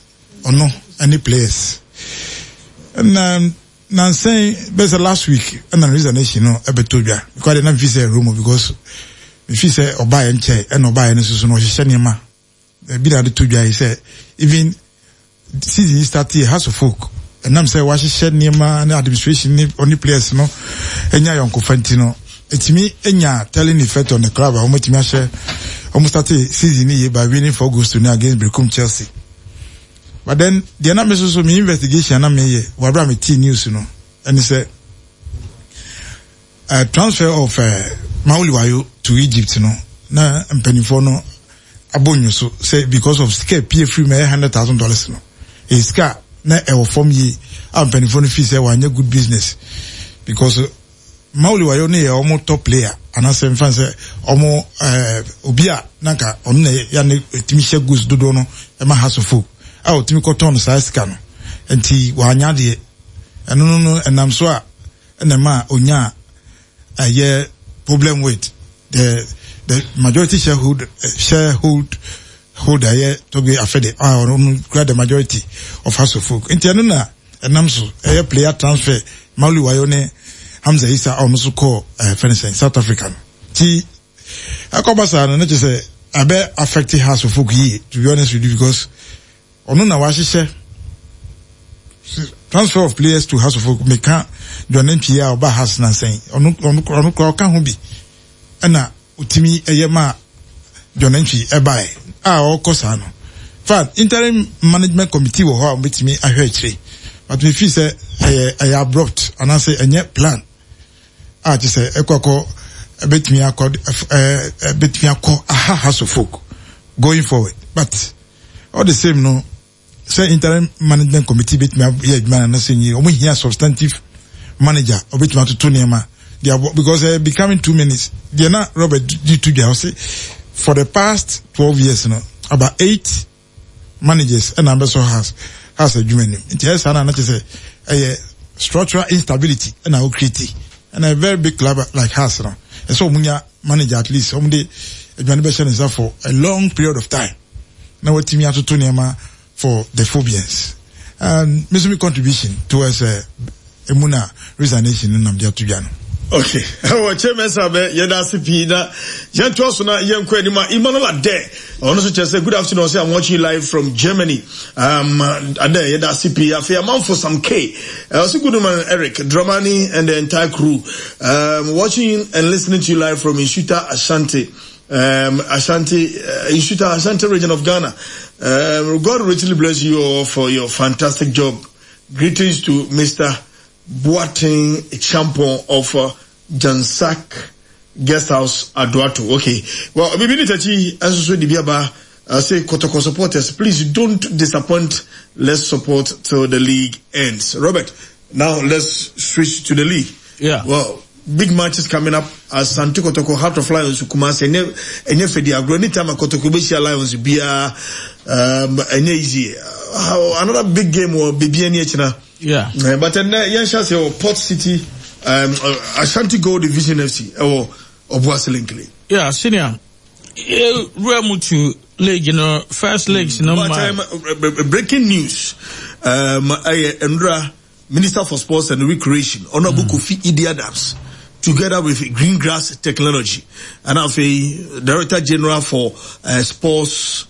ɔno ne players na nansɛn bɛsɛ last week ɛna resignation no ɛbɛtɔ dwa because de na mefi sɛ rumour because mefi sɛ ɔbaeɛ nkyɛn ɛna ɔbaeɛ no soso no ɔhyehyɛ nneɛma ebi na ade to dwa yi sɛ even season yi start yɛ House of Folk ɛnam sɛ wahyehyɛ nneɛma ne administration ne ɔne players no anya ayɔnkofa nti no ɛtumi anya telling effect on the club a wɔatumi ahyɛ wɔn start season yi by winning 4 goals to nil against Berekum Chelsea. But then deɛ na me nso so me investigation na meyɛ wɔ abere a me tee news no ɛne sɛ transfer of Mauli Wayo to Egypt no na mpanimfoɔ no abɔ nyo so sɛ because of sika pie firi mu ɛyɛ $100,000 no ɛyɛ sika na ɛwɔ fam yie a mpanimfoɔ no fi sɛ wanyɛ good business because Mauli Wayo no yɛ wɔn top player anaasɛ nfa sɛ wɔn ɛɛ obi a nanka ɔno na ya ne etumi hyɛ goals dodoɔ no ɛma Hearts of Oak a otumi kɔtɔn no saa sika no nti wanya adeɛ ɛno no no ɛnam so a ɛna ɛma onya ɛyɛ problem with the majority shareholder sharehold holder yɛ Togbe Afede a ɔno no kura the majority of Hearts of Oak nti ɛno na ɛnam so ɛyɛ player transfer Mauli Wayo ne Hamza Issa a ɔno nso kɔɔ ɛɛ fɛn sɛn South Africa no ti ɛkɔba saa no ne kyerɛ sɛ ɛbɛ affect Hearts of Oak yie, to be honest with you, because ɔno na wahyehyɛ transfer of players to Hearts of Oak. Meka John Antwi a ɔba Hearts nansɛn ɔno ɔno ɔno kora ɔka ho bi ɛna otumi ɛyɛ ma John Antwi ɛbae a ɔkɔ saa no. Fact, interim management committee wɔ hɔ a wɔbɛtumi ahwɛ akyire, but me feel sɛ ɛyɛ ɛyɛ abrupt anaasɛ ɛnyɛ plan a kyerɛ sɛ ɛkɔ akɔ ɛbɛtumi akɔ ɛɛ ɛbɛtumi akɔ aha Hearts of Oak going forward. But all the same no, sɛ interim management committee bɛtumi ayɛ adwuma na sɛ nyi wɔn hia substantive manager ɔbɛtumi atoto nneɛma de abɔ because uh, becoming 2 minutes deɛ na Robert di to dwa ɔse for the past 12 years no about eight managers ɛna abɛsɔ Hearts adwuma nim nti ɛyɛ saa na na kyerɛ sɛ ɛyɛ structural instability ɛna o create ɛna a very big club like Hearts no ɛsɛ wɔn nya manager at least wɔn de adwuma no bɛhyɛ ne nsa for a long period of time na watumi atoto nneɛma for the phobians. And me nso me contribution towards emu na resignation no nam de ato dwa no. Okay. Ɛwɔ kyɛ mɛsa bɛ yɛda ase pii na yɛntoa so na yɛnkɔ anim a Emmanuel Adɛ ɔno nso kyerɛ sɛ good afternoon ɔsɛ I'm watching you live from Germany. Um, Adɛ yɛda ase pii afei amanfo Sam K ɔsɛ good morning Eric Dramani and the entire crew. Watching and listening to you live from Nsuta Ashanti. Ashanti, Nsuta Ashanti region of Ghana. God richly bless you all for your fantastic job. Greetings to Mr. Boateng Champon of Jansak Guest House, Aduato. Okay. Well, Bibi Tachi, and so Dibiaba, say Kotoko supporters, please don't disappoint. Let's support till the league ends. Robert, now let's switch to the league. Yeah. Well, Big matches coming up Asante Kotoko, Heart of Lions, Kumasi. Ɛnyɛ ɛnyɛ fɛdi agorɔ. Anytime a Kotoko bɛhyia Lions biara, ɛnyɛ easy. Another big game wɔ beebi ani akyina. Yeah. But ɛnɛ yɛn hyɛ ase wɔ Port City, Ashanti Gold Division FC ɛwɔ Obuasi Linkly. Yeah, senior. Wura mu to league no first leagues no ma. But breaking news, ɛyɛ nwura. Minister for Sports and Recreation, Honorable mm. Kofi Idi Adams, together with Green Grass Technology, and afei Director General for Sports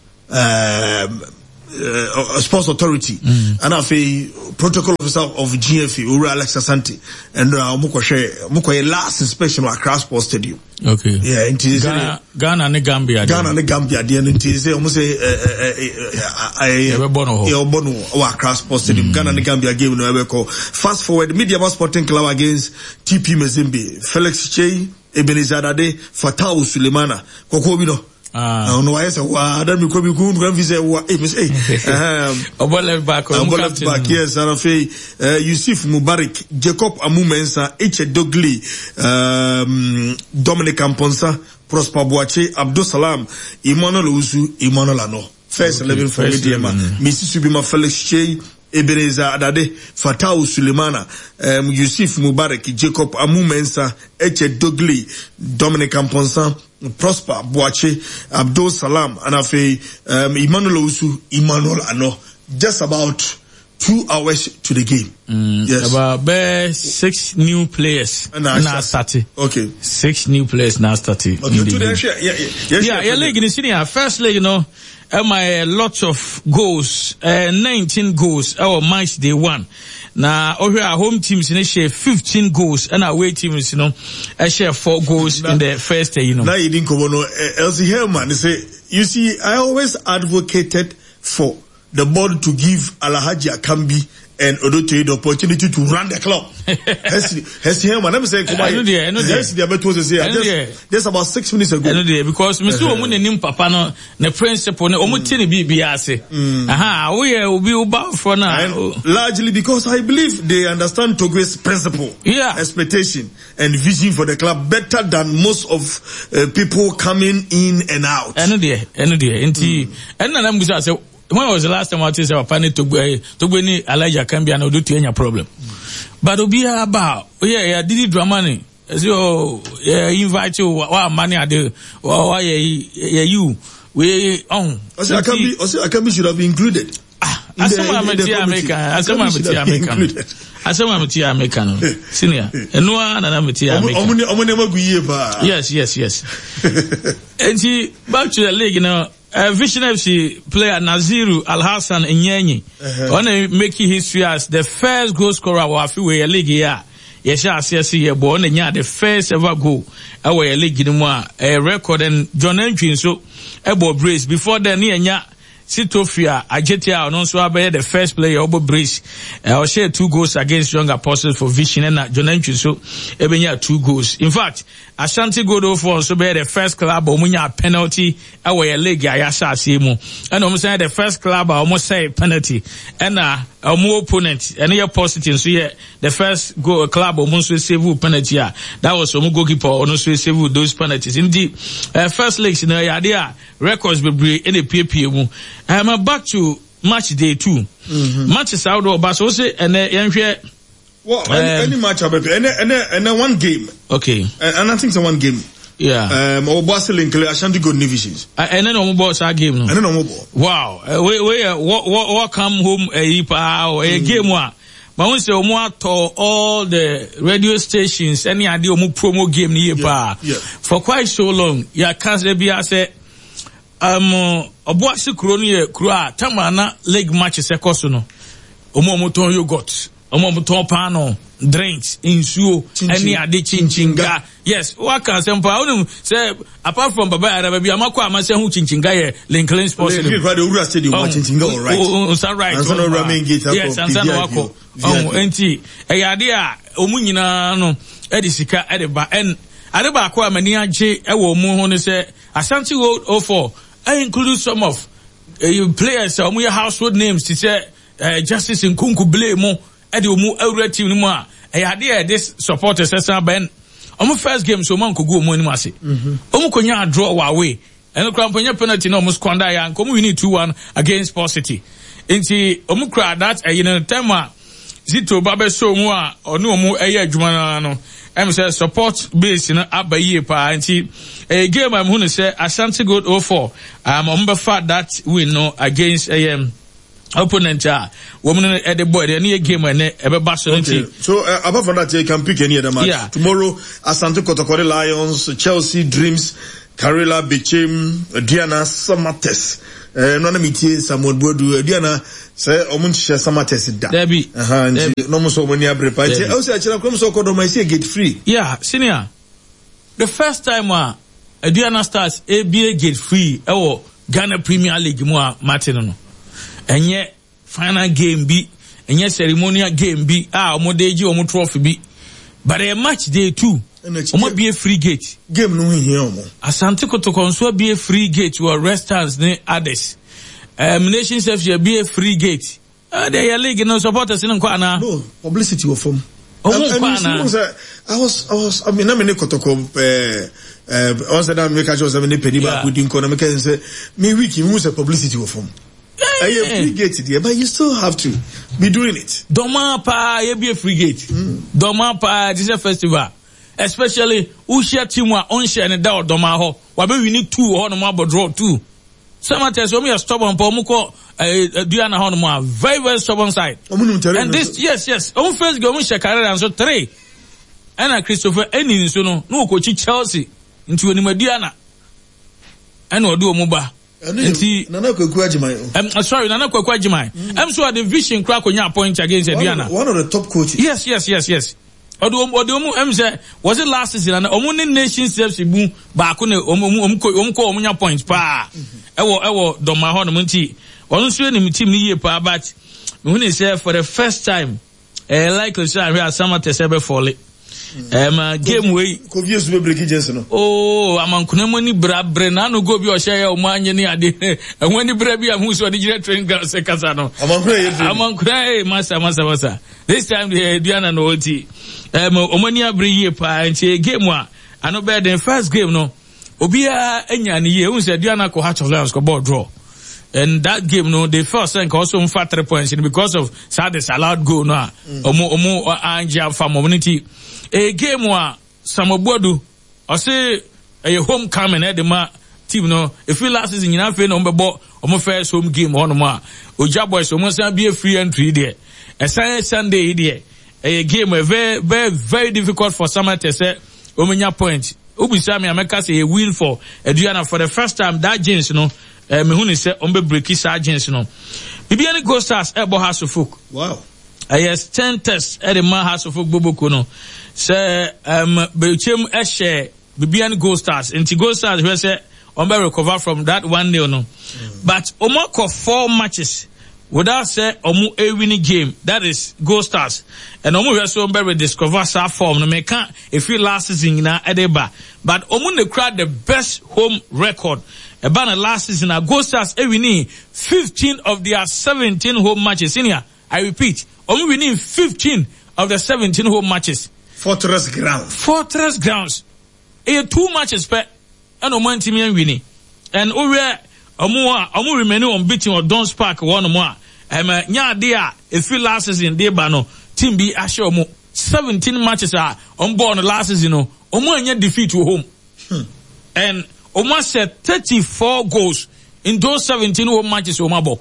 Sports Authority, and afei Protocol Officer of GFA, Owura Alex Asante, and ɔmo kɔhwɛ ɔmo kɔyɛ last inspection wɔ Accra Sports Stadium. Okay. Yeah, nti Ghana, Ghana ne Gambia. Ghana ne Gambia deɛ no nti sɛ ɔmo sɛ ɛɛ yɛbɛbɔ no hɔ. Yɛbɛbɔ no wɔ Accra Sports Stadium. Ghana ne Gambia game no ɛbɛkɔ. Fast forward, Medeama Sporting Club against TP Mazembe. Felix Kyei, Ebenezer Dade, Fatawu Sulemana. Kɔkɔɔ bi no. Ah. Ɔno wayɛ sɛ waa dan mi kɔ mi kun kura mi fi sɛ wa ee mi sɛ ee. Ɔbɔ left back. Ɔbɔ left back yes and afei Yusuf Mubarak, Jacob Amu Mensah, Eche Dogli, Dominic Amponsa, Prosper Boakye, Abdul Salam, Emmanuel Owusu, Emmanuel Ano. First 11 for Medeama. Mesi Subima Felix Kyei, Ebenezer Adade, Fatawu Sulemana, Yusuf Mubarak, Jacob Amu Mensah, Eche Dogli, Dominic Amponsa, Prosper Boakye, Abdul Salam, and afei Emmanuel Owusu, Emmanuel Ano. Just about 2 hours to the game. Yes. About bare six new players. Na started. Okay. Six new players now started. Okay. To the Yeah, league in senior first league, my lots of goals, 19 goals. Our match day one. Na ohwɛ a home teams no hyɛ 15 goals ɛna away teams no ɛhyɛ 4 goals in the first. Na yɛdi nkɔmmɔ no, Elsie Herman sɛ, you see, I always advocated for the board to give Alhaji Akambi and Odotoye the opportunity to run the club. Hesi Hesi Herman, let me say, Ɛno deɛ, ɛno deɛ. Hesi deɛ bɛto sɛ Ɛno deɛ. just about 6 minutes ago. Ɛno deɛ, because mesi wɔn mu n'anim papa no ne principle no wɔn ti ne biribi ase. Aha, woyɛ obi woba foforɔ na. And largely because I believe they understand Togwe's principle, expectation, and vision for the club better than most of people coming in and out. Ɛno deɛ nti ɛno na nam bisa sɛ, when was the last time wate sɛ papa ne Togbe Togbe ne Elijah Kambia na Odotu anya problem? But obiara ba a oyɛ yɛ Didi Dramani ɛsɛ o yɛ invite o wa ama ne ade wa yɛ yɛ yi o wei ɔho. Ɔsɛ Akambi should have been included. Asɛm a mete a meka, asɛm a mete a meka no, asɛm a mete a meka no, senior, ɛno ara na na mete a meka. Ɔmo nneɛma gu yie paa. Yes, nti back to the league no, Vision FC player Naziru Alhassan Nyenyi ɔna make history as the first goal scorer wɔ afe wei yɛ league yi a yɛhyɛ aseɛ se yɛ bɔ. Ɔna nya the first ever goal ɛwɔ yɛ league no mu a ɛyɛ record, and John Antwi nso ɛbɔ brace. Before then ne yɛnya Sitofia Agyete a ɔno nso abɛyɛ the first player ɔbɔ brace. Ɔhyɛ two goals against Young Apostles for Vision, ɛna John Antwi nso ɛbɛnya two goals. In fact, Ashanti Gold 04 nso bɛyɛ the first club a wɔn nya penalty ɛwɔ yɛ league a yɛahyɛ aseɛ mu, ɛna wɔn sɛ the first club a wɔn sɛe penalty, ɛna wɔn opponent ɛno yɛ Positive nso yɛ the first goal club wɔn nso save penalty a that was wɔn goalkeeper, ɔno nso save those penalties. Nti first leagues no ɛyɛ adeɛ a records bebree ɛna epiepie mu. Back to match day two. Matches ahodoɔ ɔba so wosɛ ɛnɛ yɛnhwɛ. Well, any match abɛpɛ ɛnɛ one game. And I think it's one game. Obuasi Linkle, Ashanti Gold Divisions. Ɛnɛ na wɔn bɔ saa game no. Ɛnɛ na wɔn bɔ. Wow, wei yɛ wɔ welcome home ɛyi paa o, ɛyɛ game a ma wɔn sɛ wɔn atɔ all the radio stations ɛne adeɛ wɔn promo game ni yie paa. For quite so long yɛaka sɛ bi asɛ Ɔboase kuro no yɛ kuro a tamana league matches ɛkɔ so no, wɔn a wɔtɔn yogurt, wɔn a wɔtɔn paano, drinks, nsuo ɛne ade, chinchinga. Yes, waka asɛm paa. Wonim sɛ apart from Baba Yara, baabi a makɔ a masɛ ho chinchinga yɛ Lincoln Sports Stadium. Lincoln owura stadium wa chinchinga all right. Nsa right. Ansa na owura main gate akɔ. Yes, ansa na wakɔ. Ɔho nti ɛyɛ ade a wɔn nyinaa no ɛde sika ɛde ba. Ɛn ade baako a m'ani agye ɛwɔ wɔn ho ne sɛ Ashanti Gold 04 include some of players a wɔn yɛ household names te sɛ Justice Nkunku Blay mu, ɛde wɔn awura team no mu a ɛyɛ ade a yɛde supporters ɛsan bɛn. Ɔmo first game so ɔmo ankogu ɔmo anim ase. Ɔmo konya draw wɔ away. Ɛno koraa mpo nyɛ penalty na ɔmo squander yɛ anka ɔmo winning 2-1 against Sport City. Nti ɔmo kura that ɛyi no time a Zito ba bɛsɔ mu a ɔne ɔmo ɛyɛ adwuma no ara no ɛm sɛ support base no aba yie paa nti ɛyɛ game a mehu no sɛ Ashanti Gold 04 ɔmo bɛfa that win no against ɛyɛ opponent a wɔn no ɛde bɔ ɛde ɛne yɛ game ɛnɛ ɛbɛba so no nti. So apart from that, you can pick any other match. Yeah. Tomorrow, Asante Kotokori Lions, Chelsea Dreams, Karela Bechem, Aduana Samates. No na metie Samuel Boadu Aduana sɛ ɔmo nhyehyɛ Samates da. Dabi. Nti na ɔmo sɛ ɔmo ani abere pa. Nti ɛwɔ sɛ akyerɛ kɔm sɛ ɔkɔ dɔm ɛsɛ gate free. Yeah, senior. The first time a Aduana Stars ebie gate free ɛwɔ Ghana Premier League mu a mate no no. Ɛnyɛ final game bi, ɛnyɛ ceremonial game bi a wɔn de gye wɔn trophy bi. But ɛyɛ match day 2. Wɔn abie free gate. Game no ho hia wɔn. Asante Kotoko nso abie free gate wɔ restaurants ne others. Nations FC abie free gate. De yɛ league no supporters no nkɔ anaa? No, publicity wɔ fam. Ɔmo nkɔ anaa? I was, I mean, na me ne Kotoko, ɔn sɛ na me ka kyerɛ sɛ me ne panyin baako di nkɔ na me ka sɛ me week mi hu sɛ publicity wɔ fam. Ɛyɛ free gate deɛ, but you still have to be doing it. Dɔmaa paa yɛbie free gate. Dɔmaa paa te sɛ festival. Especially wohyia team a ɔnhyɛ ne da wɔ dɔmaa hɔ. Wabɛwi ne 2 wɔ hɔ nom abɔ draw 2. Samatex wɔn yɛ stubborn pa wɔn kɔ Aduana hɔ nom a very very stubborn side. And this yes yes wɔn first game wɔn hyɛ Carrera nso 3. Ɛna Christopher Eni nso no na wɔkɔkyi Chelsea nti wɔnim Aduana ɛna ɔde wɔn ba. Nti Nana Kwaku Agyeman. Sorry, Nana Kwaku Agyeman. So the vision kura konya point against Aduana. One of the top coaches. Yes, yes, yes, yes. Ɔde ɔmo sɛ was it last season na ɔmo ne Nations FC mu baako na ɔmo kɔ ɔmo nya point paa ɛwɔ dɔma hɔ nom nti ɔno nso anim team no yie paa but mehu ne sɛ for the first time ɛyɛ likely sɛ ahwɛ asama tɛ sɛ ɛbɛfɔle game wei Kofi Esu bɛ break jersey no. Oh, amankuna mu ani bra bre na ano go bi ɔhyɛ yɛ ɔmo anye ne ade. Ɛho ani bra bi a hu sɛ ɔde gyina train ground sɛ kasa no. Amankuna yɛ train. Amankuna eh masa masa masa. This time de Aduana no ɔti. Ɔmo ani abere yie paa nti game a ano bɛyɛ den first game no. Obiara anya ne yie. Hu sɛ Aduana kɔ Heart of Lions kɔ ball draw. And that game no they felt sɛ nka ɔso mfa 3 points no because of saa disallowed goal no a ɔmo angye amfa mo no nti a game a Samuel Boadu ɔse ɛyɛ homecoming ɛde ma team no ɛfiri last season nyinaa afei na ɔmo bɛbɔ ɔmo first home game hɔ nom a Ogya Boys ɔmo san bie free entry deɛ ɛsan Sunday yi deɛ ɛyɛ game a very very very difficult for Samatex sɛ ɔmo nya point. Wobisa me a mɛka sɛ ɛyɛ win for Aduana for the first time that jeans no mehu ne sɛ ɔmo bɛ breaki saa jeans no. Bibia ne Gold Stars ɛbɔ Hearts of Oak. Wow. Ɛyɛ 10 test ɛde ma Hearts of Oak boboko no sɛ Bechem ɛhyɛ Bibia ne Gold Stars nti Gold Stars hwɛ sɛ ɔmo bɛ recover from that 1-0 no. But ɔmo akɔ 4 matches without sɛ ɔmo ewini game, that is Gold Stars, and ɔmo hwɛ so ɔmo bɛ rediscover saa form no meka efi last season nyinaa ɛde ba, but ɔmo na kura the best home record ɛba na last season a Gold Stars ewini 15 of their 17 home matches. Senior, I repeat, ɔmo winning 15 of the 17 home matches. Fortress grounds. Fortress grounds. Ɛyɛ 2 matches pɛ ɛna ɔmo antimi anwini. And owɛ ɔmo a ɔmo remain unbeaten wɔ Dons Park wɔ nom a ɛma nya ade a efi last season de ba no team bi ahyɛ ɔmo 17 matches a ɔmo bɔɔ no last season no ɔmo anya defeat wɔ home. And ɔmo ahyɛ 34 goals in those 17 home matches ɔmo abɔ.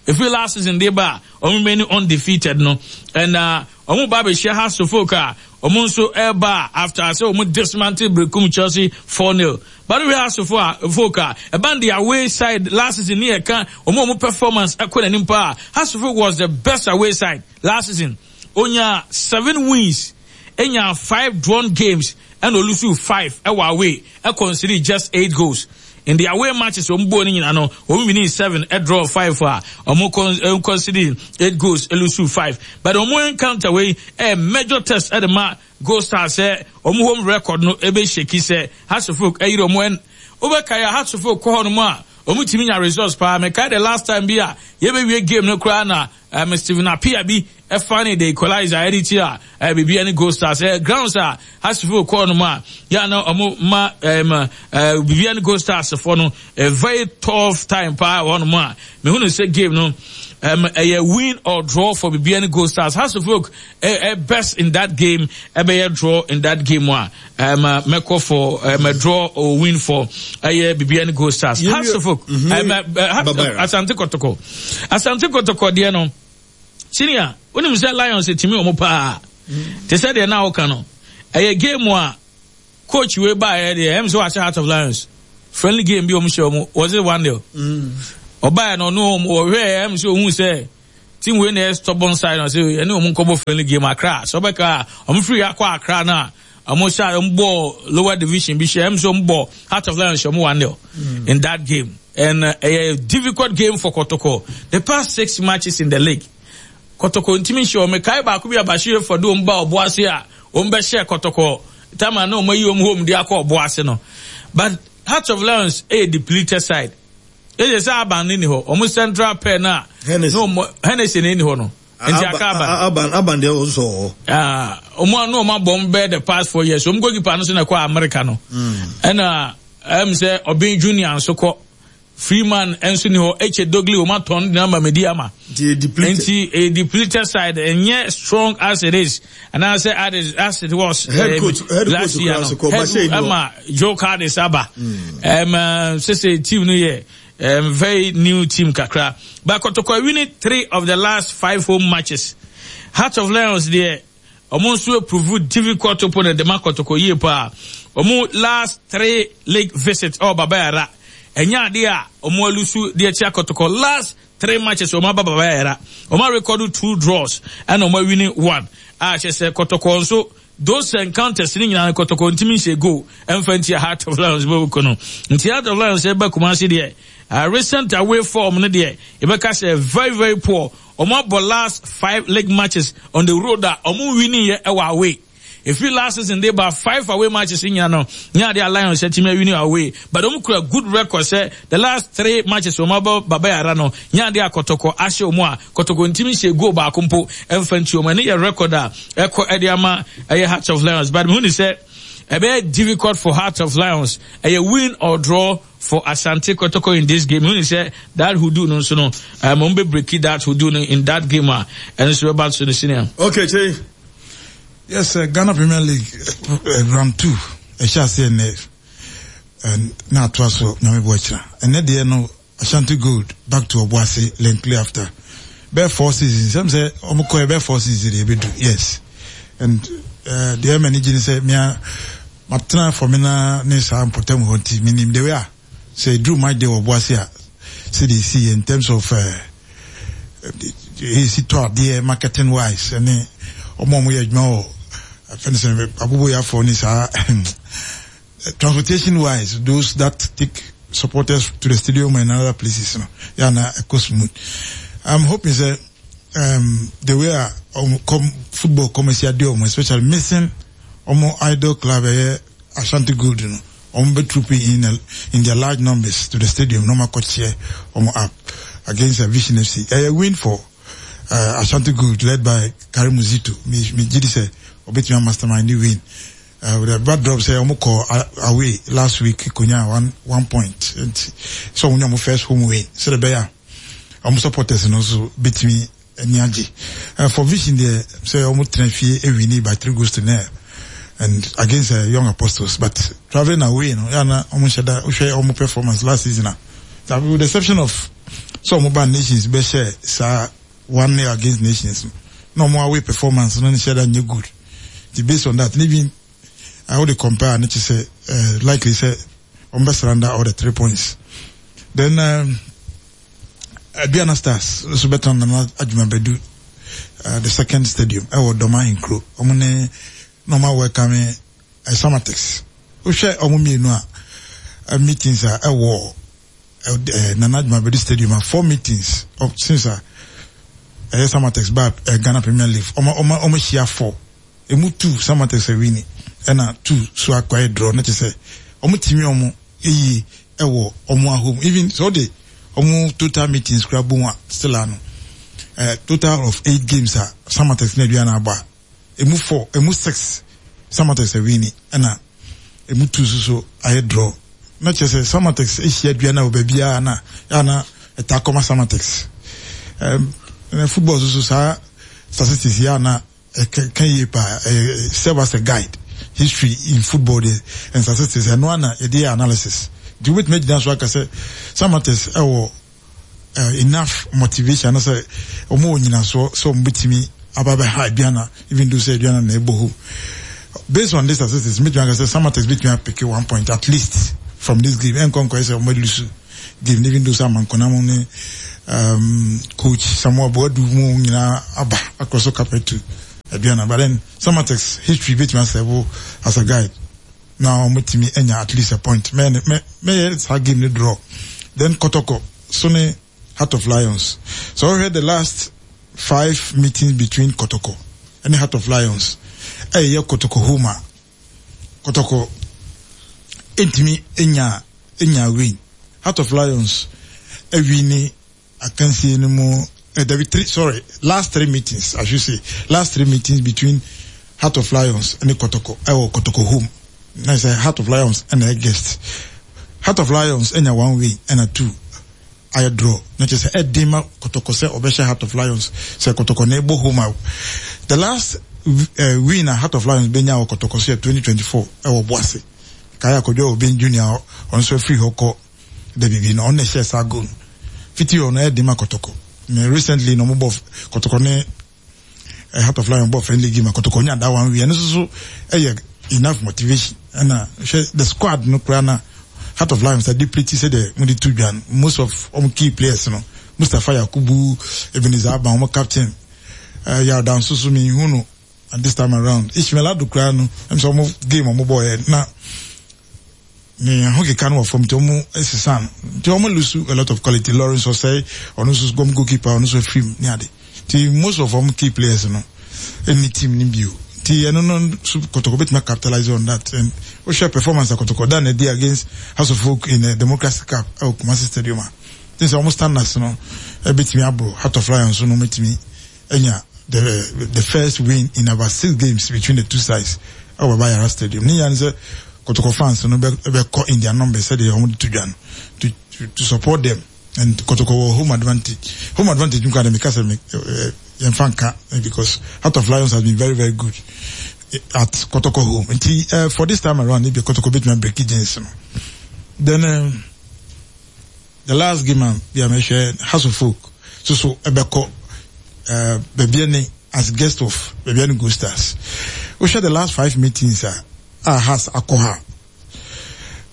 Efi last season de ba a ɔmo remain undefeated no. And ɔmo ba bɛhyia Hearts of Oak a ɔmo nso ɛba after sɛ ɔmo dismantle Berekum Chelsea 4-0. But we Hearts of Oak a ɛban the away side last season ne yɛka ɔmo performance ɛkɔ n'anim paa. Hearts of Oak was the best away side last season. Onya 7 wins, enya 5 drawn games, and olusu 5 ɛwɔ away. Ɛ concede just 8 goals. In the away matches, ɔmo bɔ ne nyinaa no, ɔmo winning 7, ɛ draw 5 a, ɔmo concede 8 goals, olusu 5. But ɔmo encounter wei, ɛ major test ɛ de ma Gold Stars sɛ ɔmo home record no ebe shaky sɛ Hearts of Oak ɛyere ɔmo ɛn. Wobɛka ya Hearts of Oak kɔ hɔ nom a, ɔmo tumi nya results paa. Mekae the last time bi a yɛbɛwie game no koraa na um, Stephen Appiah bi ɛfa ne the equalizer ɛde ti a eh, Bibiani Gold Stars eh, grounds a Hasfo kɔɔ no mu a yɛ na ɔmo ma um, eh, Bibiani Gold Stars foɔ no a very tough time paa wɔ hɔnom a mehunu sɛ game no um, ɛyɛ win or draw for Bibiani Gold Stars. Hasselhoff eh, eh, best in that game ɛbɛyɛ draw in that game a um, mɛkɔ for um, a draw or win for ɛyɛ Bibiani Gold Stars. Hasselhoff um, uh, Asante Kotoko Asante Kotoko deɛ no senior wonim sɛ Lions tumi wɔn paa te sɛ deɛ na woka no ɛyɛ game a Coach wei baeɛ deɛ ɛm sɛ wahyɛ Heart of Lions friendly game bi wɔn hyɛ wɔn was it 1-0 ɔbaeɛ no ɔno wɔn ɔhwɛɛ ɛm sɛ ohun sɛ team wei na ɛyɛ stubborn side na ɔsɛ ɛne wɔn nkɔbɔ friendly game Accra sɛ ɔbɛka a wɔn firi akɔ Accra no a wɔn hyɛ wɔn bɔ lower division bi hyɛ ɛm sɛ wɔn bɔ Heart of Lions hyɛ wɔn 1-0 in that game and ɛyɛ uh, difficult game for Kotoko the past six matches in the league Kɔtɔkɔ ntumi nhyɛ wɔn. Mekae baako bi a Bashir Hayford de wɔn baa Ɔboase a wɔn bɛhyɛɛ Kɔtɔkɔ tam a na wɔn ayi wɔn home de akɔ Ɔboase no. But Hearts of Lions yɛ depleted side. Ɛyɛ sɛ Aban no ni hɔ. Wɔn central pair no a na wɔn Hennessy na ɛni hɔ no. Nti aka Aban. Aban Aban deɛ wɔn sɔ hɔ. Ah, wɔn a na wɔn abɔ wɔn bɛyɛ the past 4 years. Wɔn goalkeeper no so na ɛkɔ America no. Ɛna ɛm sɛ Obeng Junior nso kɔ. Freeman nso ni hɔ, Eche Dogli wɔn atɔn de ama Medi ama. Nti a depleted side ɛnyɛ strong as it is anaasɛ as it was head coach head last coach year no. Head ama Joe Cardis aba. Um, sese team no yɛ very new team kakra. But Kotoko winning three of the last five home matches. Heart of Lions deɛ Ɔmo nso approve difficult opponent de ma Kɔtɔkɔ yie paa. Ɔmo last three league visit ɛwɔ Baba Yara. Ɛnyɛ adeɛ a ɔmo alusu de atia Kɔtɔkɔ. Last three matches ɔmo aba Baba Yara. Ɔmo arekɔdo two draws ɛna ɔmo awini one. A kyerɛ sɛ Kɔtɔkɔ nso those encounters ne nyinaa no Kɔtɔkɔ ntumi nhyɛ goal ɛmfa ntia Heart of Lions bɛbɔ no. Nti Heart of Lions ɛba Kumasi deɛ recent away form no deɛ yɛbɛka sɛ very very poor. Ɔmo abɔ last five league matches on the road a ɔmo nwinii yɛ ɛwɔ away. Efiri last season de ba five away matches nyina no nyɛ adeɛ a Lions atumi awini away but ɔmo kura good record sɛ the last three matches ɔmo abɔ Baba Yara no nyɛ adeɛ a Kɔtɔkɔ ahyɛ ɔmo a Kɔtɔkɔ ntumi nhyɛ goal baako mpo ɛmfa nti ɔmo. Ɛno yɛ record a ɛkɔ ɛde ama ɛyɛ Hearts of Lions but mehu ne sɛ ɛbɛyɛ difficult for Hearts of Lions ɛyɛ win or draw for Asante Kotoko in this game. Who is that who do no so no? Um, break that who do no in that game. Uh, and so about so senior. Okay, Che. Yes, uh, Ghana Premier League uh, round 2. Ɛhyɛ aseɛ nnɛ na atoa so nyame bɔ akyira. Ɛnɛ deɛ no Ashanti Gold back to Obuasi Lenclay after bɛyɛ four seasons. Sɛm sɛ ɔmo kɔɛ bɛyɛ four seasons deɛ ɛbɛdu. Yes. And uh, deɛ ɛma ni gye ne sɛ mea Matena Fɔmena ne saa mpɔtam hɔ nti menim the way a sɛ ɛduru match day wɔ Boase a sɛdeɛ ɛsi yɛ in terms of ɛsi tɔ adeɛ marketing wise ɛne ɔmo a ɔmo yɛ adwuma wɔ afɛn sɛ aboboyafoɔ ne saa transportation wise those that take supporters to the stadium and other places no yɛ na ɛkɔ smooth. I'm hoping sɛ um, the way a um, com, football kɔmɛsi adeɛ ɔmo especially missing Wɔn idol club ɛyɛ Ashanti Gold no, wɔn bɛ troop in in their large numbers to the stadium na wɔn akɔ cheer wɔn up against Vision FC. Ɛyɛ win for uh, Ashanti Gold led by Karim Zito. Me me gye di sɛ ɔbɛtumi a mastermind the win. Uh, with a backdrop sɛ wɔn kɔ away last week konya one point nti sɛ wɔn nya wɔn first home win sɛ ɛbɛyɛ a wɔn supporters no nso bɛtumi Ani agye. Eh, for Vision deɛ sɛ wɔn tena fie ewini by three goals to nil and against uh, Young Apostles but travelling away no yɛ na wɔn nhyɛ da wohwɛ wɔn performance last season a with the exception of sɛ wɔn ba Nations bɛhyɛ saa one nil against Nations no na wɔn away performance no nhyɛ da nyɛ good nti based on that even I would compare ne kyɛ sɛ eh, likely sɛ wɔn bɛ surrender all the three points then. Um, Aduana Stars nso bɛtena Nana Agyemang Badu the second stadium ɛwɔ Dɔm Ahenkuro. Wɔn ne na wɔn awɛkame Samatex. Wohwɛ wɔn mmienu a meetings a ɛwɔ Nana Agyemang Badu stadium a four meetings since a ɛyɛ Samatex ba Ghana Premier League. Wɔn wɔn wɔn ahyia four. Emu two Samatex awini ɛna two so akɔyɛ draw na kyerɛ sɛ wɔn tumi wɔn yie. ɛwɔ ɔmo ahom even sɛ ɔde ɔmo total meetings kura bom a still ano eh, total of eight games a Samatex ne Aduana abɔ a emu four emu six Samatex awini ɛna emu two nso so ayɛ draw na kyerɛ sɛ Samatex ahyia Aduana wɔ baabiara na yɛ na ɛtaa kɔma Samatex um, na football nso so saa statistics yɛ na ɛka yie paa ɛyɛ serve as a guide history in football deɛ and statistics ɛno ana yɛde yɛ analysis nti wobɛtumi agyina so aka sɛ Samatex ɛwɔ uh, enough motivation anasɛ wɔn wɔ nyinasoɔ sɛ wɔn bɛtumi aba bɛha Aduana even though sɛ Aduana na ɛbɔ home based on this statistics mɛtumi aka sɛ Samatex bɛtumi apeke one point at least from this game ɛnkɔ nkɔyɛ sɛ wɔn alusu game even though sɛ Amankonam ne um, coach Samuel Boadu mu nyinaa aba akɔ so carpet to Aduana but then Samatex history bɛtumi asɛbo as a guide na wɔatumi anya at least a point. Mɛ mɛ mɛyɛ saa game no draw. Then Kɔtɔkɔ so ne Heart of Lions. So wɔhwɛ the last five meetings between Kɔtɔkɔ ne Heart of Lions ɛyɛ Kɔtɔkɔ home a Kɔtɔkɔ ntumi nya nya win. Heart of Lions awini akansie no mu eh, dabi three sorry last three meetings I should say last three meetings between Heart of Lions ne Kotoko ɛwɔ Kotoko home na sɛ Heart of Lions ɛna ɛ guest Heart of Lions ɛnya one win ɛna two ayɛ draw na kyerɛ sɛ ɛden ma Kotoko sɛ ɔbɛhyɛ Heart of Lions sɛ Kotoko na ɛbɔ home a the last uh, win a Heart of Lions bɛnya wɔ Kotoko so yɛ 2024 ɛwɔ Boase kae akɔdwa Obeng Junior ɔno nso afiri hɔ kɔ da bibi no ɔno na ɛhyɛɛ saa goal no fiti hɔ no ɛyɛ den ma kɔtɔkɔ me recently na ɔmo bɔ kɔtɔkɔ ne eh, Heart of Lion bɔ friendly game a kɔtɔkɔ nya that one win ɛno nso so ɛyɛ enough motivation ɛna hwɛ the squad no koraa na Heart of Lions ade pretty sɛ deɛ mo de to dwa no most of ɔmo key players no Mustapha Yakubu Ebenezer Aban ɔmo captain uh, Yarda nso so mi hu no and this time around Ishmael Ado koraa no ɛm sɛ ɔmo game ɔmo bɔ yɛ na ne ahokeka no wɔ fam nti ɔmo sesa no nti ɔmo lose a lot of quality Lawrence Osei ɔno nso gɔm goalkeeper ɔno nso afiri mu ne ade nti most of ɔmo key players no ɛnni team no bio nti ɛno no so Kotoko betumi capitalize on that and wohwɛ performance a Kotoko da na ɛdi against House of Folk in the Democracy Cup ɛwɔ Kumasi Stadium a nti sɛ ɔmo standards no ɛbɛtumi aboro Heart of Lions no ɔmo anya the the first win in about six games between the two sides ɛwɔ Baba Yara Stadium. Ne nyinaa ne sɛ Kotoko fans no bɛ bɛkɔ in their numbers sɛdeɛ wɔn de to dwa no to to to support them and Kotoko wɔ home advantage. Home advantage nkwa de meka sɛ me yɛnfa nka because Heart of Lions has been very very good at Kotoko home. Nti uh, for this time around ebi Kotoko betumi break jinx no. Then. Uh, The last game a bi a mɛhwɛ House of Folk so so ɛbɛkɔ uh, Bibiani as guest of Bibiani Gold Stars. Wohwɛ the last five meetings a a Hearts akɔ ha.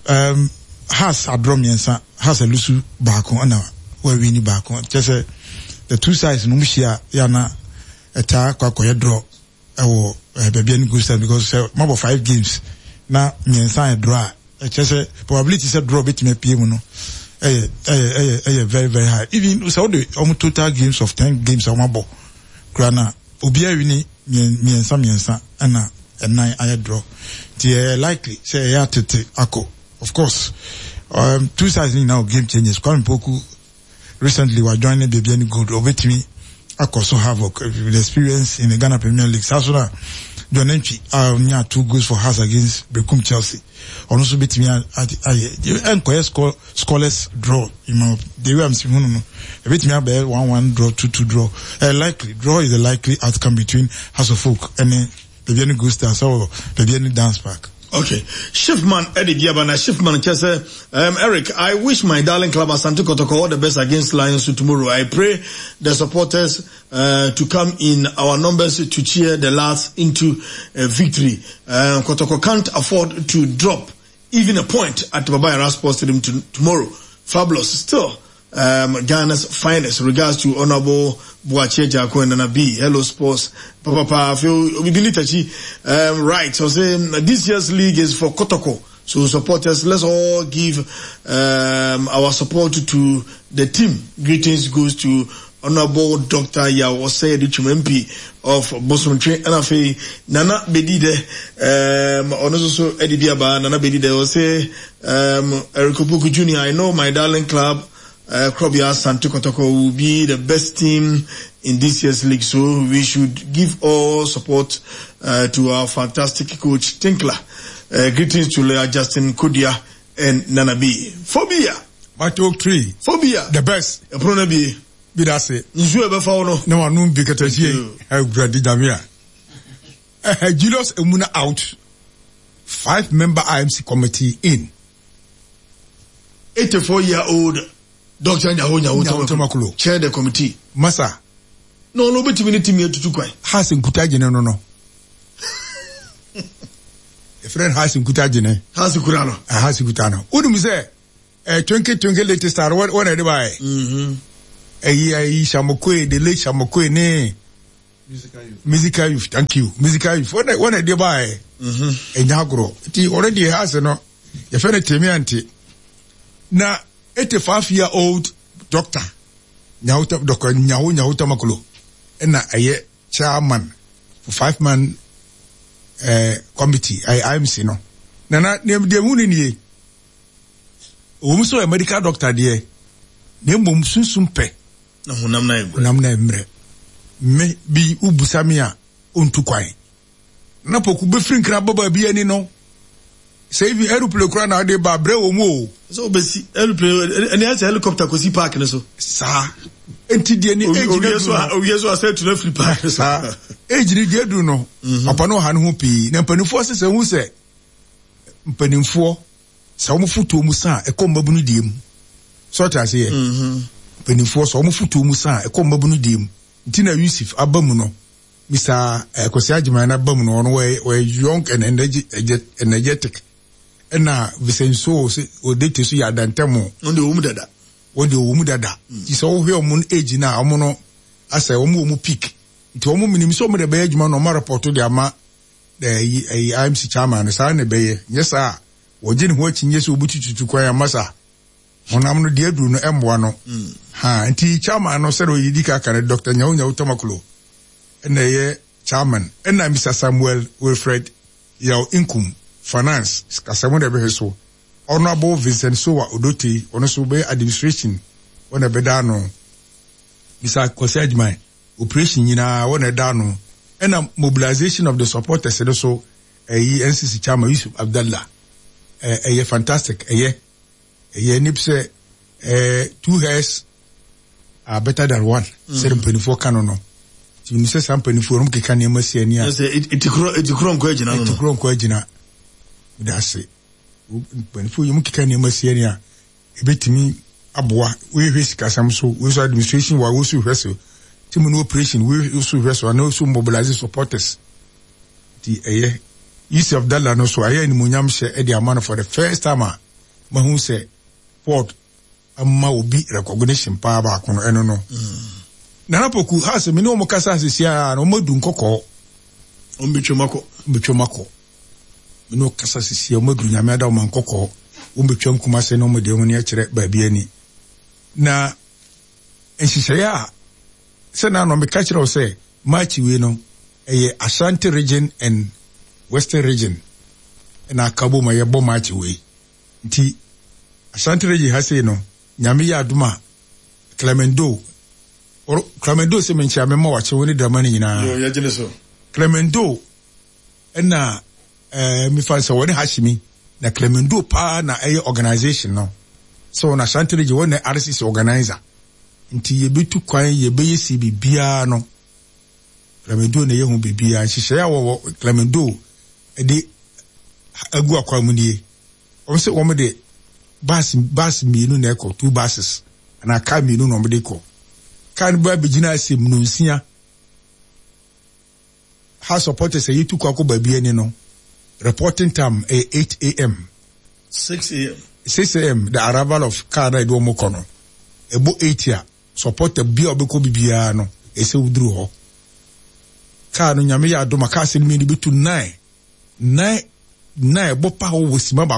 Um, Hearts adrɔ mmiɛnsa, Hearts alusu baako ɛna wɔawini baako. Kyerɛ sɛ the two sides no mu hyia yɛ ana ɛtaa kɔ akɔyɛ draw ɛwɔ eh, Bibiani Gold Stars because sɛ mabɔ five games na mmiɛnsa yɛ draw a ɛkyerɛ sɛ probability sɛ draw betumi apue mu no ɛyɛ ɛyɛ ɛyɛ ɛyɛ very very high even sɛ wode wɔn total games of ten games a wɔn abɔ kura na obiara wini mmiɛnsa mmiɛnsa ɛna ɛnan ayɛ draw nti ɛyɛ likely sɛ ɛyɛ atete akɔ of course um, two sides ni nyinaa wɔ game changes Kwame Poku Recently wa join Bibiani Gold obetumi akɔ so havoc with experience in the Ghana Premier League. Saa so na John Antwi a ɔnyaa two goals for Hearts against Berekum Chelsea ɔno nso betumi ayɛ ɛnkɔyɛ score scoreless draw in my the way I'm seeing no no ebetumi abɛyɛ one one draw two two draw uh, likely draw is the likely outcome between Hearts of Oak ɛne Bibiani Gold Stars ɛwɔ Bibiani Dance Park. Okay. Shifman Eddie Diabana. Shifman Chese. Um, Eric, I wish my darling club Asante Kotoko all the best against Lions tomorrow. I pray the supporters uh, to come in our numbers to cheer the lads into a victory. Uh, Kotoko can't afford to drop even a point at Baba Yara Sports Stadium to, tomorrow. Fabulous. Still, um, Ghana's finest. Regards to Honorable Boache Jako and Nana B. Hello Sports. Papa, papa, feel um, right. So say this year's league is for Kotoko. So supporters, let's all give um, our support to the team. Greetings goes to Honourable Doctor Yaw Osei Adutwum MP of Bosomtwe ɛna afei Nana Bedidɛ um, ɔno nso so ɛde bi aba Nana Bedidɛ ɔse um, Eric Opoku Junior I know my darling club Krobea Asante Kotoko will be the best team in this year's league so we should give all support to our fantastic coach Tinkler. Greetings to lawyer Justin Kodua and Nana B. Phobia! Mato tree. Phobia! The best. Ɛpono no abie. Bi da se. Nsuo a ɛbɛfa wo no. Na wanom bi katakyie. Awurade Nyame a. Julius Emuna out. 5-member IMC committee in. 84 year old Doctor Nyaho Nyaho Tamaklo chair the committee. Masa. Na ɔno obetumi ne timi atutu kwan. Has nkuta gyene no no. Efrɛ no has nkuta gyene. Has kura no. Ah, has kuta no. Wonim sɛ eh, twinkle twinkle little star wɔn na ɛde baeɛ. Ɛyi ɛyi Shamokoe the late Shamokoe ne. Musical youth thank you musical youth wɔn na wɔn na ɛde baeɛ. Ɛnya agorɔ nti ɔno deɛ has no. Yɛfrɛ no Temi Ante. Na 85 year old doctor Nyaho Dr. Nyaho Nyaho Tamaklo na ɛyɛ chairman for 5-man committee ɛyɛ IMC no. Na na deɛ ehu no nie. Ɛwɔ mu sɛ ɔyɛ medical doctor deɛ, na mmom sunsum pɛ. Na honam na mmerɛ. Honam na mmerɛ. Me bi wobusa me a, ɔntu kwan. Na poku bɛfiri nkra aba baabi ani no, sɛ even aeroplane koraa na wode ba brɛ wɔ mu o. Sɛ wobɛsi aeroplane ɛne ayɛ sɛ helicopter kɔsi park no so. Saa. Nti deɛ ne age no aduru no. Owie so asɛ atu no afiri park no so. Saa. Age no deɛ aduru no, papa no ɔha ne ho pii. Na mpanimfoɔ sɛ sɛ hu sɛ mpanimfoɔ sɛ wɔn fotoɔ mu sa a ɛkɔ mmabunu deɛ mu. Sɛ ɔte aseɛ? Mpanimfoɔ sɛ wɔn fotoɔ mu sa a ɛkɔ mmabunu deɛ mu. Nti na Yusuf aba mu no. Mister Kwasi Agyeman n'aba mu no, ɔno ɔyɛ ɔyɛ young and energetic. Ɛna Vincent So sɛ Odete so yɛ adantam. Wɔn deɛ wɔn mu dada. Wɔn deɛ wɔn mu dada. Nti sɛ wohwɛ wɔn age no a, wɔn no asɛ wɔn wɔ wɔn peak. Nti wɔn menim sɛ wɔn de bɛyɛ adwuma na wɔn arepɔto de ama ɛyi ɛyi IMC chairman no saa na ɛbɛyɛ. Nyɛ saa a wɔgye ne ho akyinnye sɛ wɔbɛtututu kwan ama saa. Honam no deɛ aduru no mmoa no. Ha nti chairman no sɛdeɛ ɔyɛ di kan ka no Doctor Nyaho Nyaho Tamaklo na ɛyɛ chairman ɛna Mister Samuel Wilfred Yaw Nkum finance sikasɛm na ɛbɛhwɛ so. Honourable Vincent Sowa Odotei ɔno nso bɛyɛ administration wɔn na ɛbɛda ano. Mister Kwasi Agyeman operation nyinaa wɔn na ɛda ano ɛna mobilization of the supporters no so ɛyi NCC chairman Yusuf Abdallah ɛyɛ fantastic ɛyɛ. Ɛyɛ nip sɛ eh, two heads are better than one. Mm. Sɛ mpanimfoɔ ka no no. Nti menim sɛ saa mpanimfoɔ no keka nneɛma si ani a. Sɛ etikuro nkɔ agyina no. Etikuro nkɔ agyina. Meda ase. Mpanimfoɔ yi mu keka nneɛma si ani a ebetumi aboa. Wohwɛ sikasɛm so, wei so administration wa, wei so hwɛ so. Team no operation, wei so hwɛ so, ana so mobilize supporters. Nti ɛyɛ. Yusuf Dala no so ayɛ animuonyam hyɛ de ama no for the first time a mahu sɛ Ford ama obi recognition paa baako no ɛno no. Nana Poku ha sɛ me ne wɔn kasa sisi a na wɔn adu nkɔkɔɔ. Wɔn betwam akɔ. Wɔn betwam akɔ. Me ne wɔn kasa sisi a wɔn adu nyame ada wɔn nkɔkɔɔ. Wɔn betwam Kumase na wɔn de wɔn ani akyerɛ baabi ani. Na nhyehyɛeɛ a sɛ na ano meka kyerɛ wo sɛ March wei no ɛyɛ Ashanti region and Western region na aka bom a yɛbɔ March wei. Nti Ashanti region ha sei no Nyame yɛ adom a Clement Doe, or, Clement Doe sɛ menkyea me mma wakye wo ne drama no nyinaa. Yo, yɛgyene so. Clement Doe ɛna eh, mefa sɛ wɔne Hashimi na Clement Doe paa na ɛyɛ organization no. Sɛ wɔn Ashanti region wɔn na RCC organizer. Nti yɛbɛtu kwan yɛbɛyɛ si biribiara no Clemendeau na ɛyɛ ho biribiara. Nhyehyɛe a wɔwɔ Clemendeau de agu akwan mu nie. Wɔn sɛ wɔn de bus bus mmienu na ɛkɔ, two buses anaa car mmienu na wɔn de kɔ. Car no bɛ abɛgyina ase nnɔnsia. Ha supporters a yɛtu kɔ akɔ baabi ani no, reporting time ɛyɛ 8 a.m. 6 a.m. 6 a.m. the arrival of car na ɛde wɔn kɔ no. Ɛbɔ 8 a, Supporter biaa ɔbɛkɔ bi biaa no ɛsɛ woduru hɔ. Car no Nyame yɛ adom a cars no mmienu bɛtu nine, nine, nine ɛbɔ pa hɔ wɔ sima baako.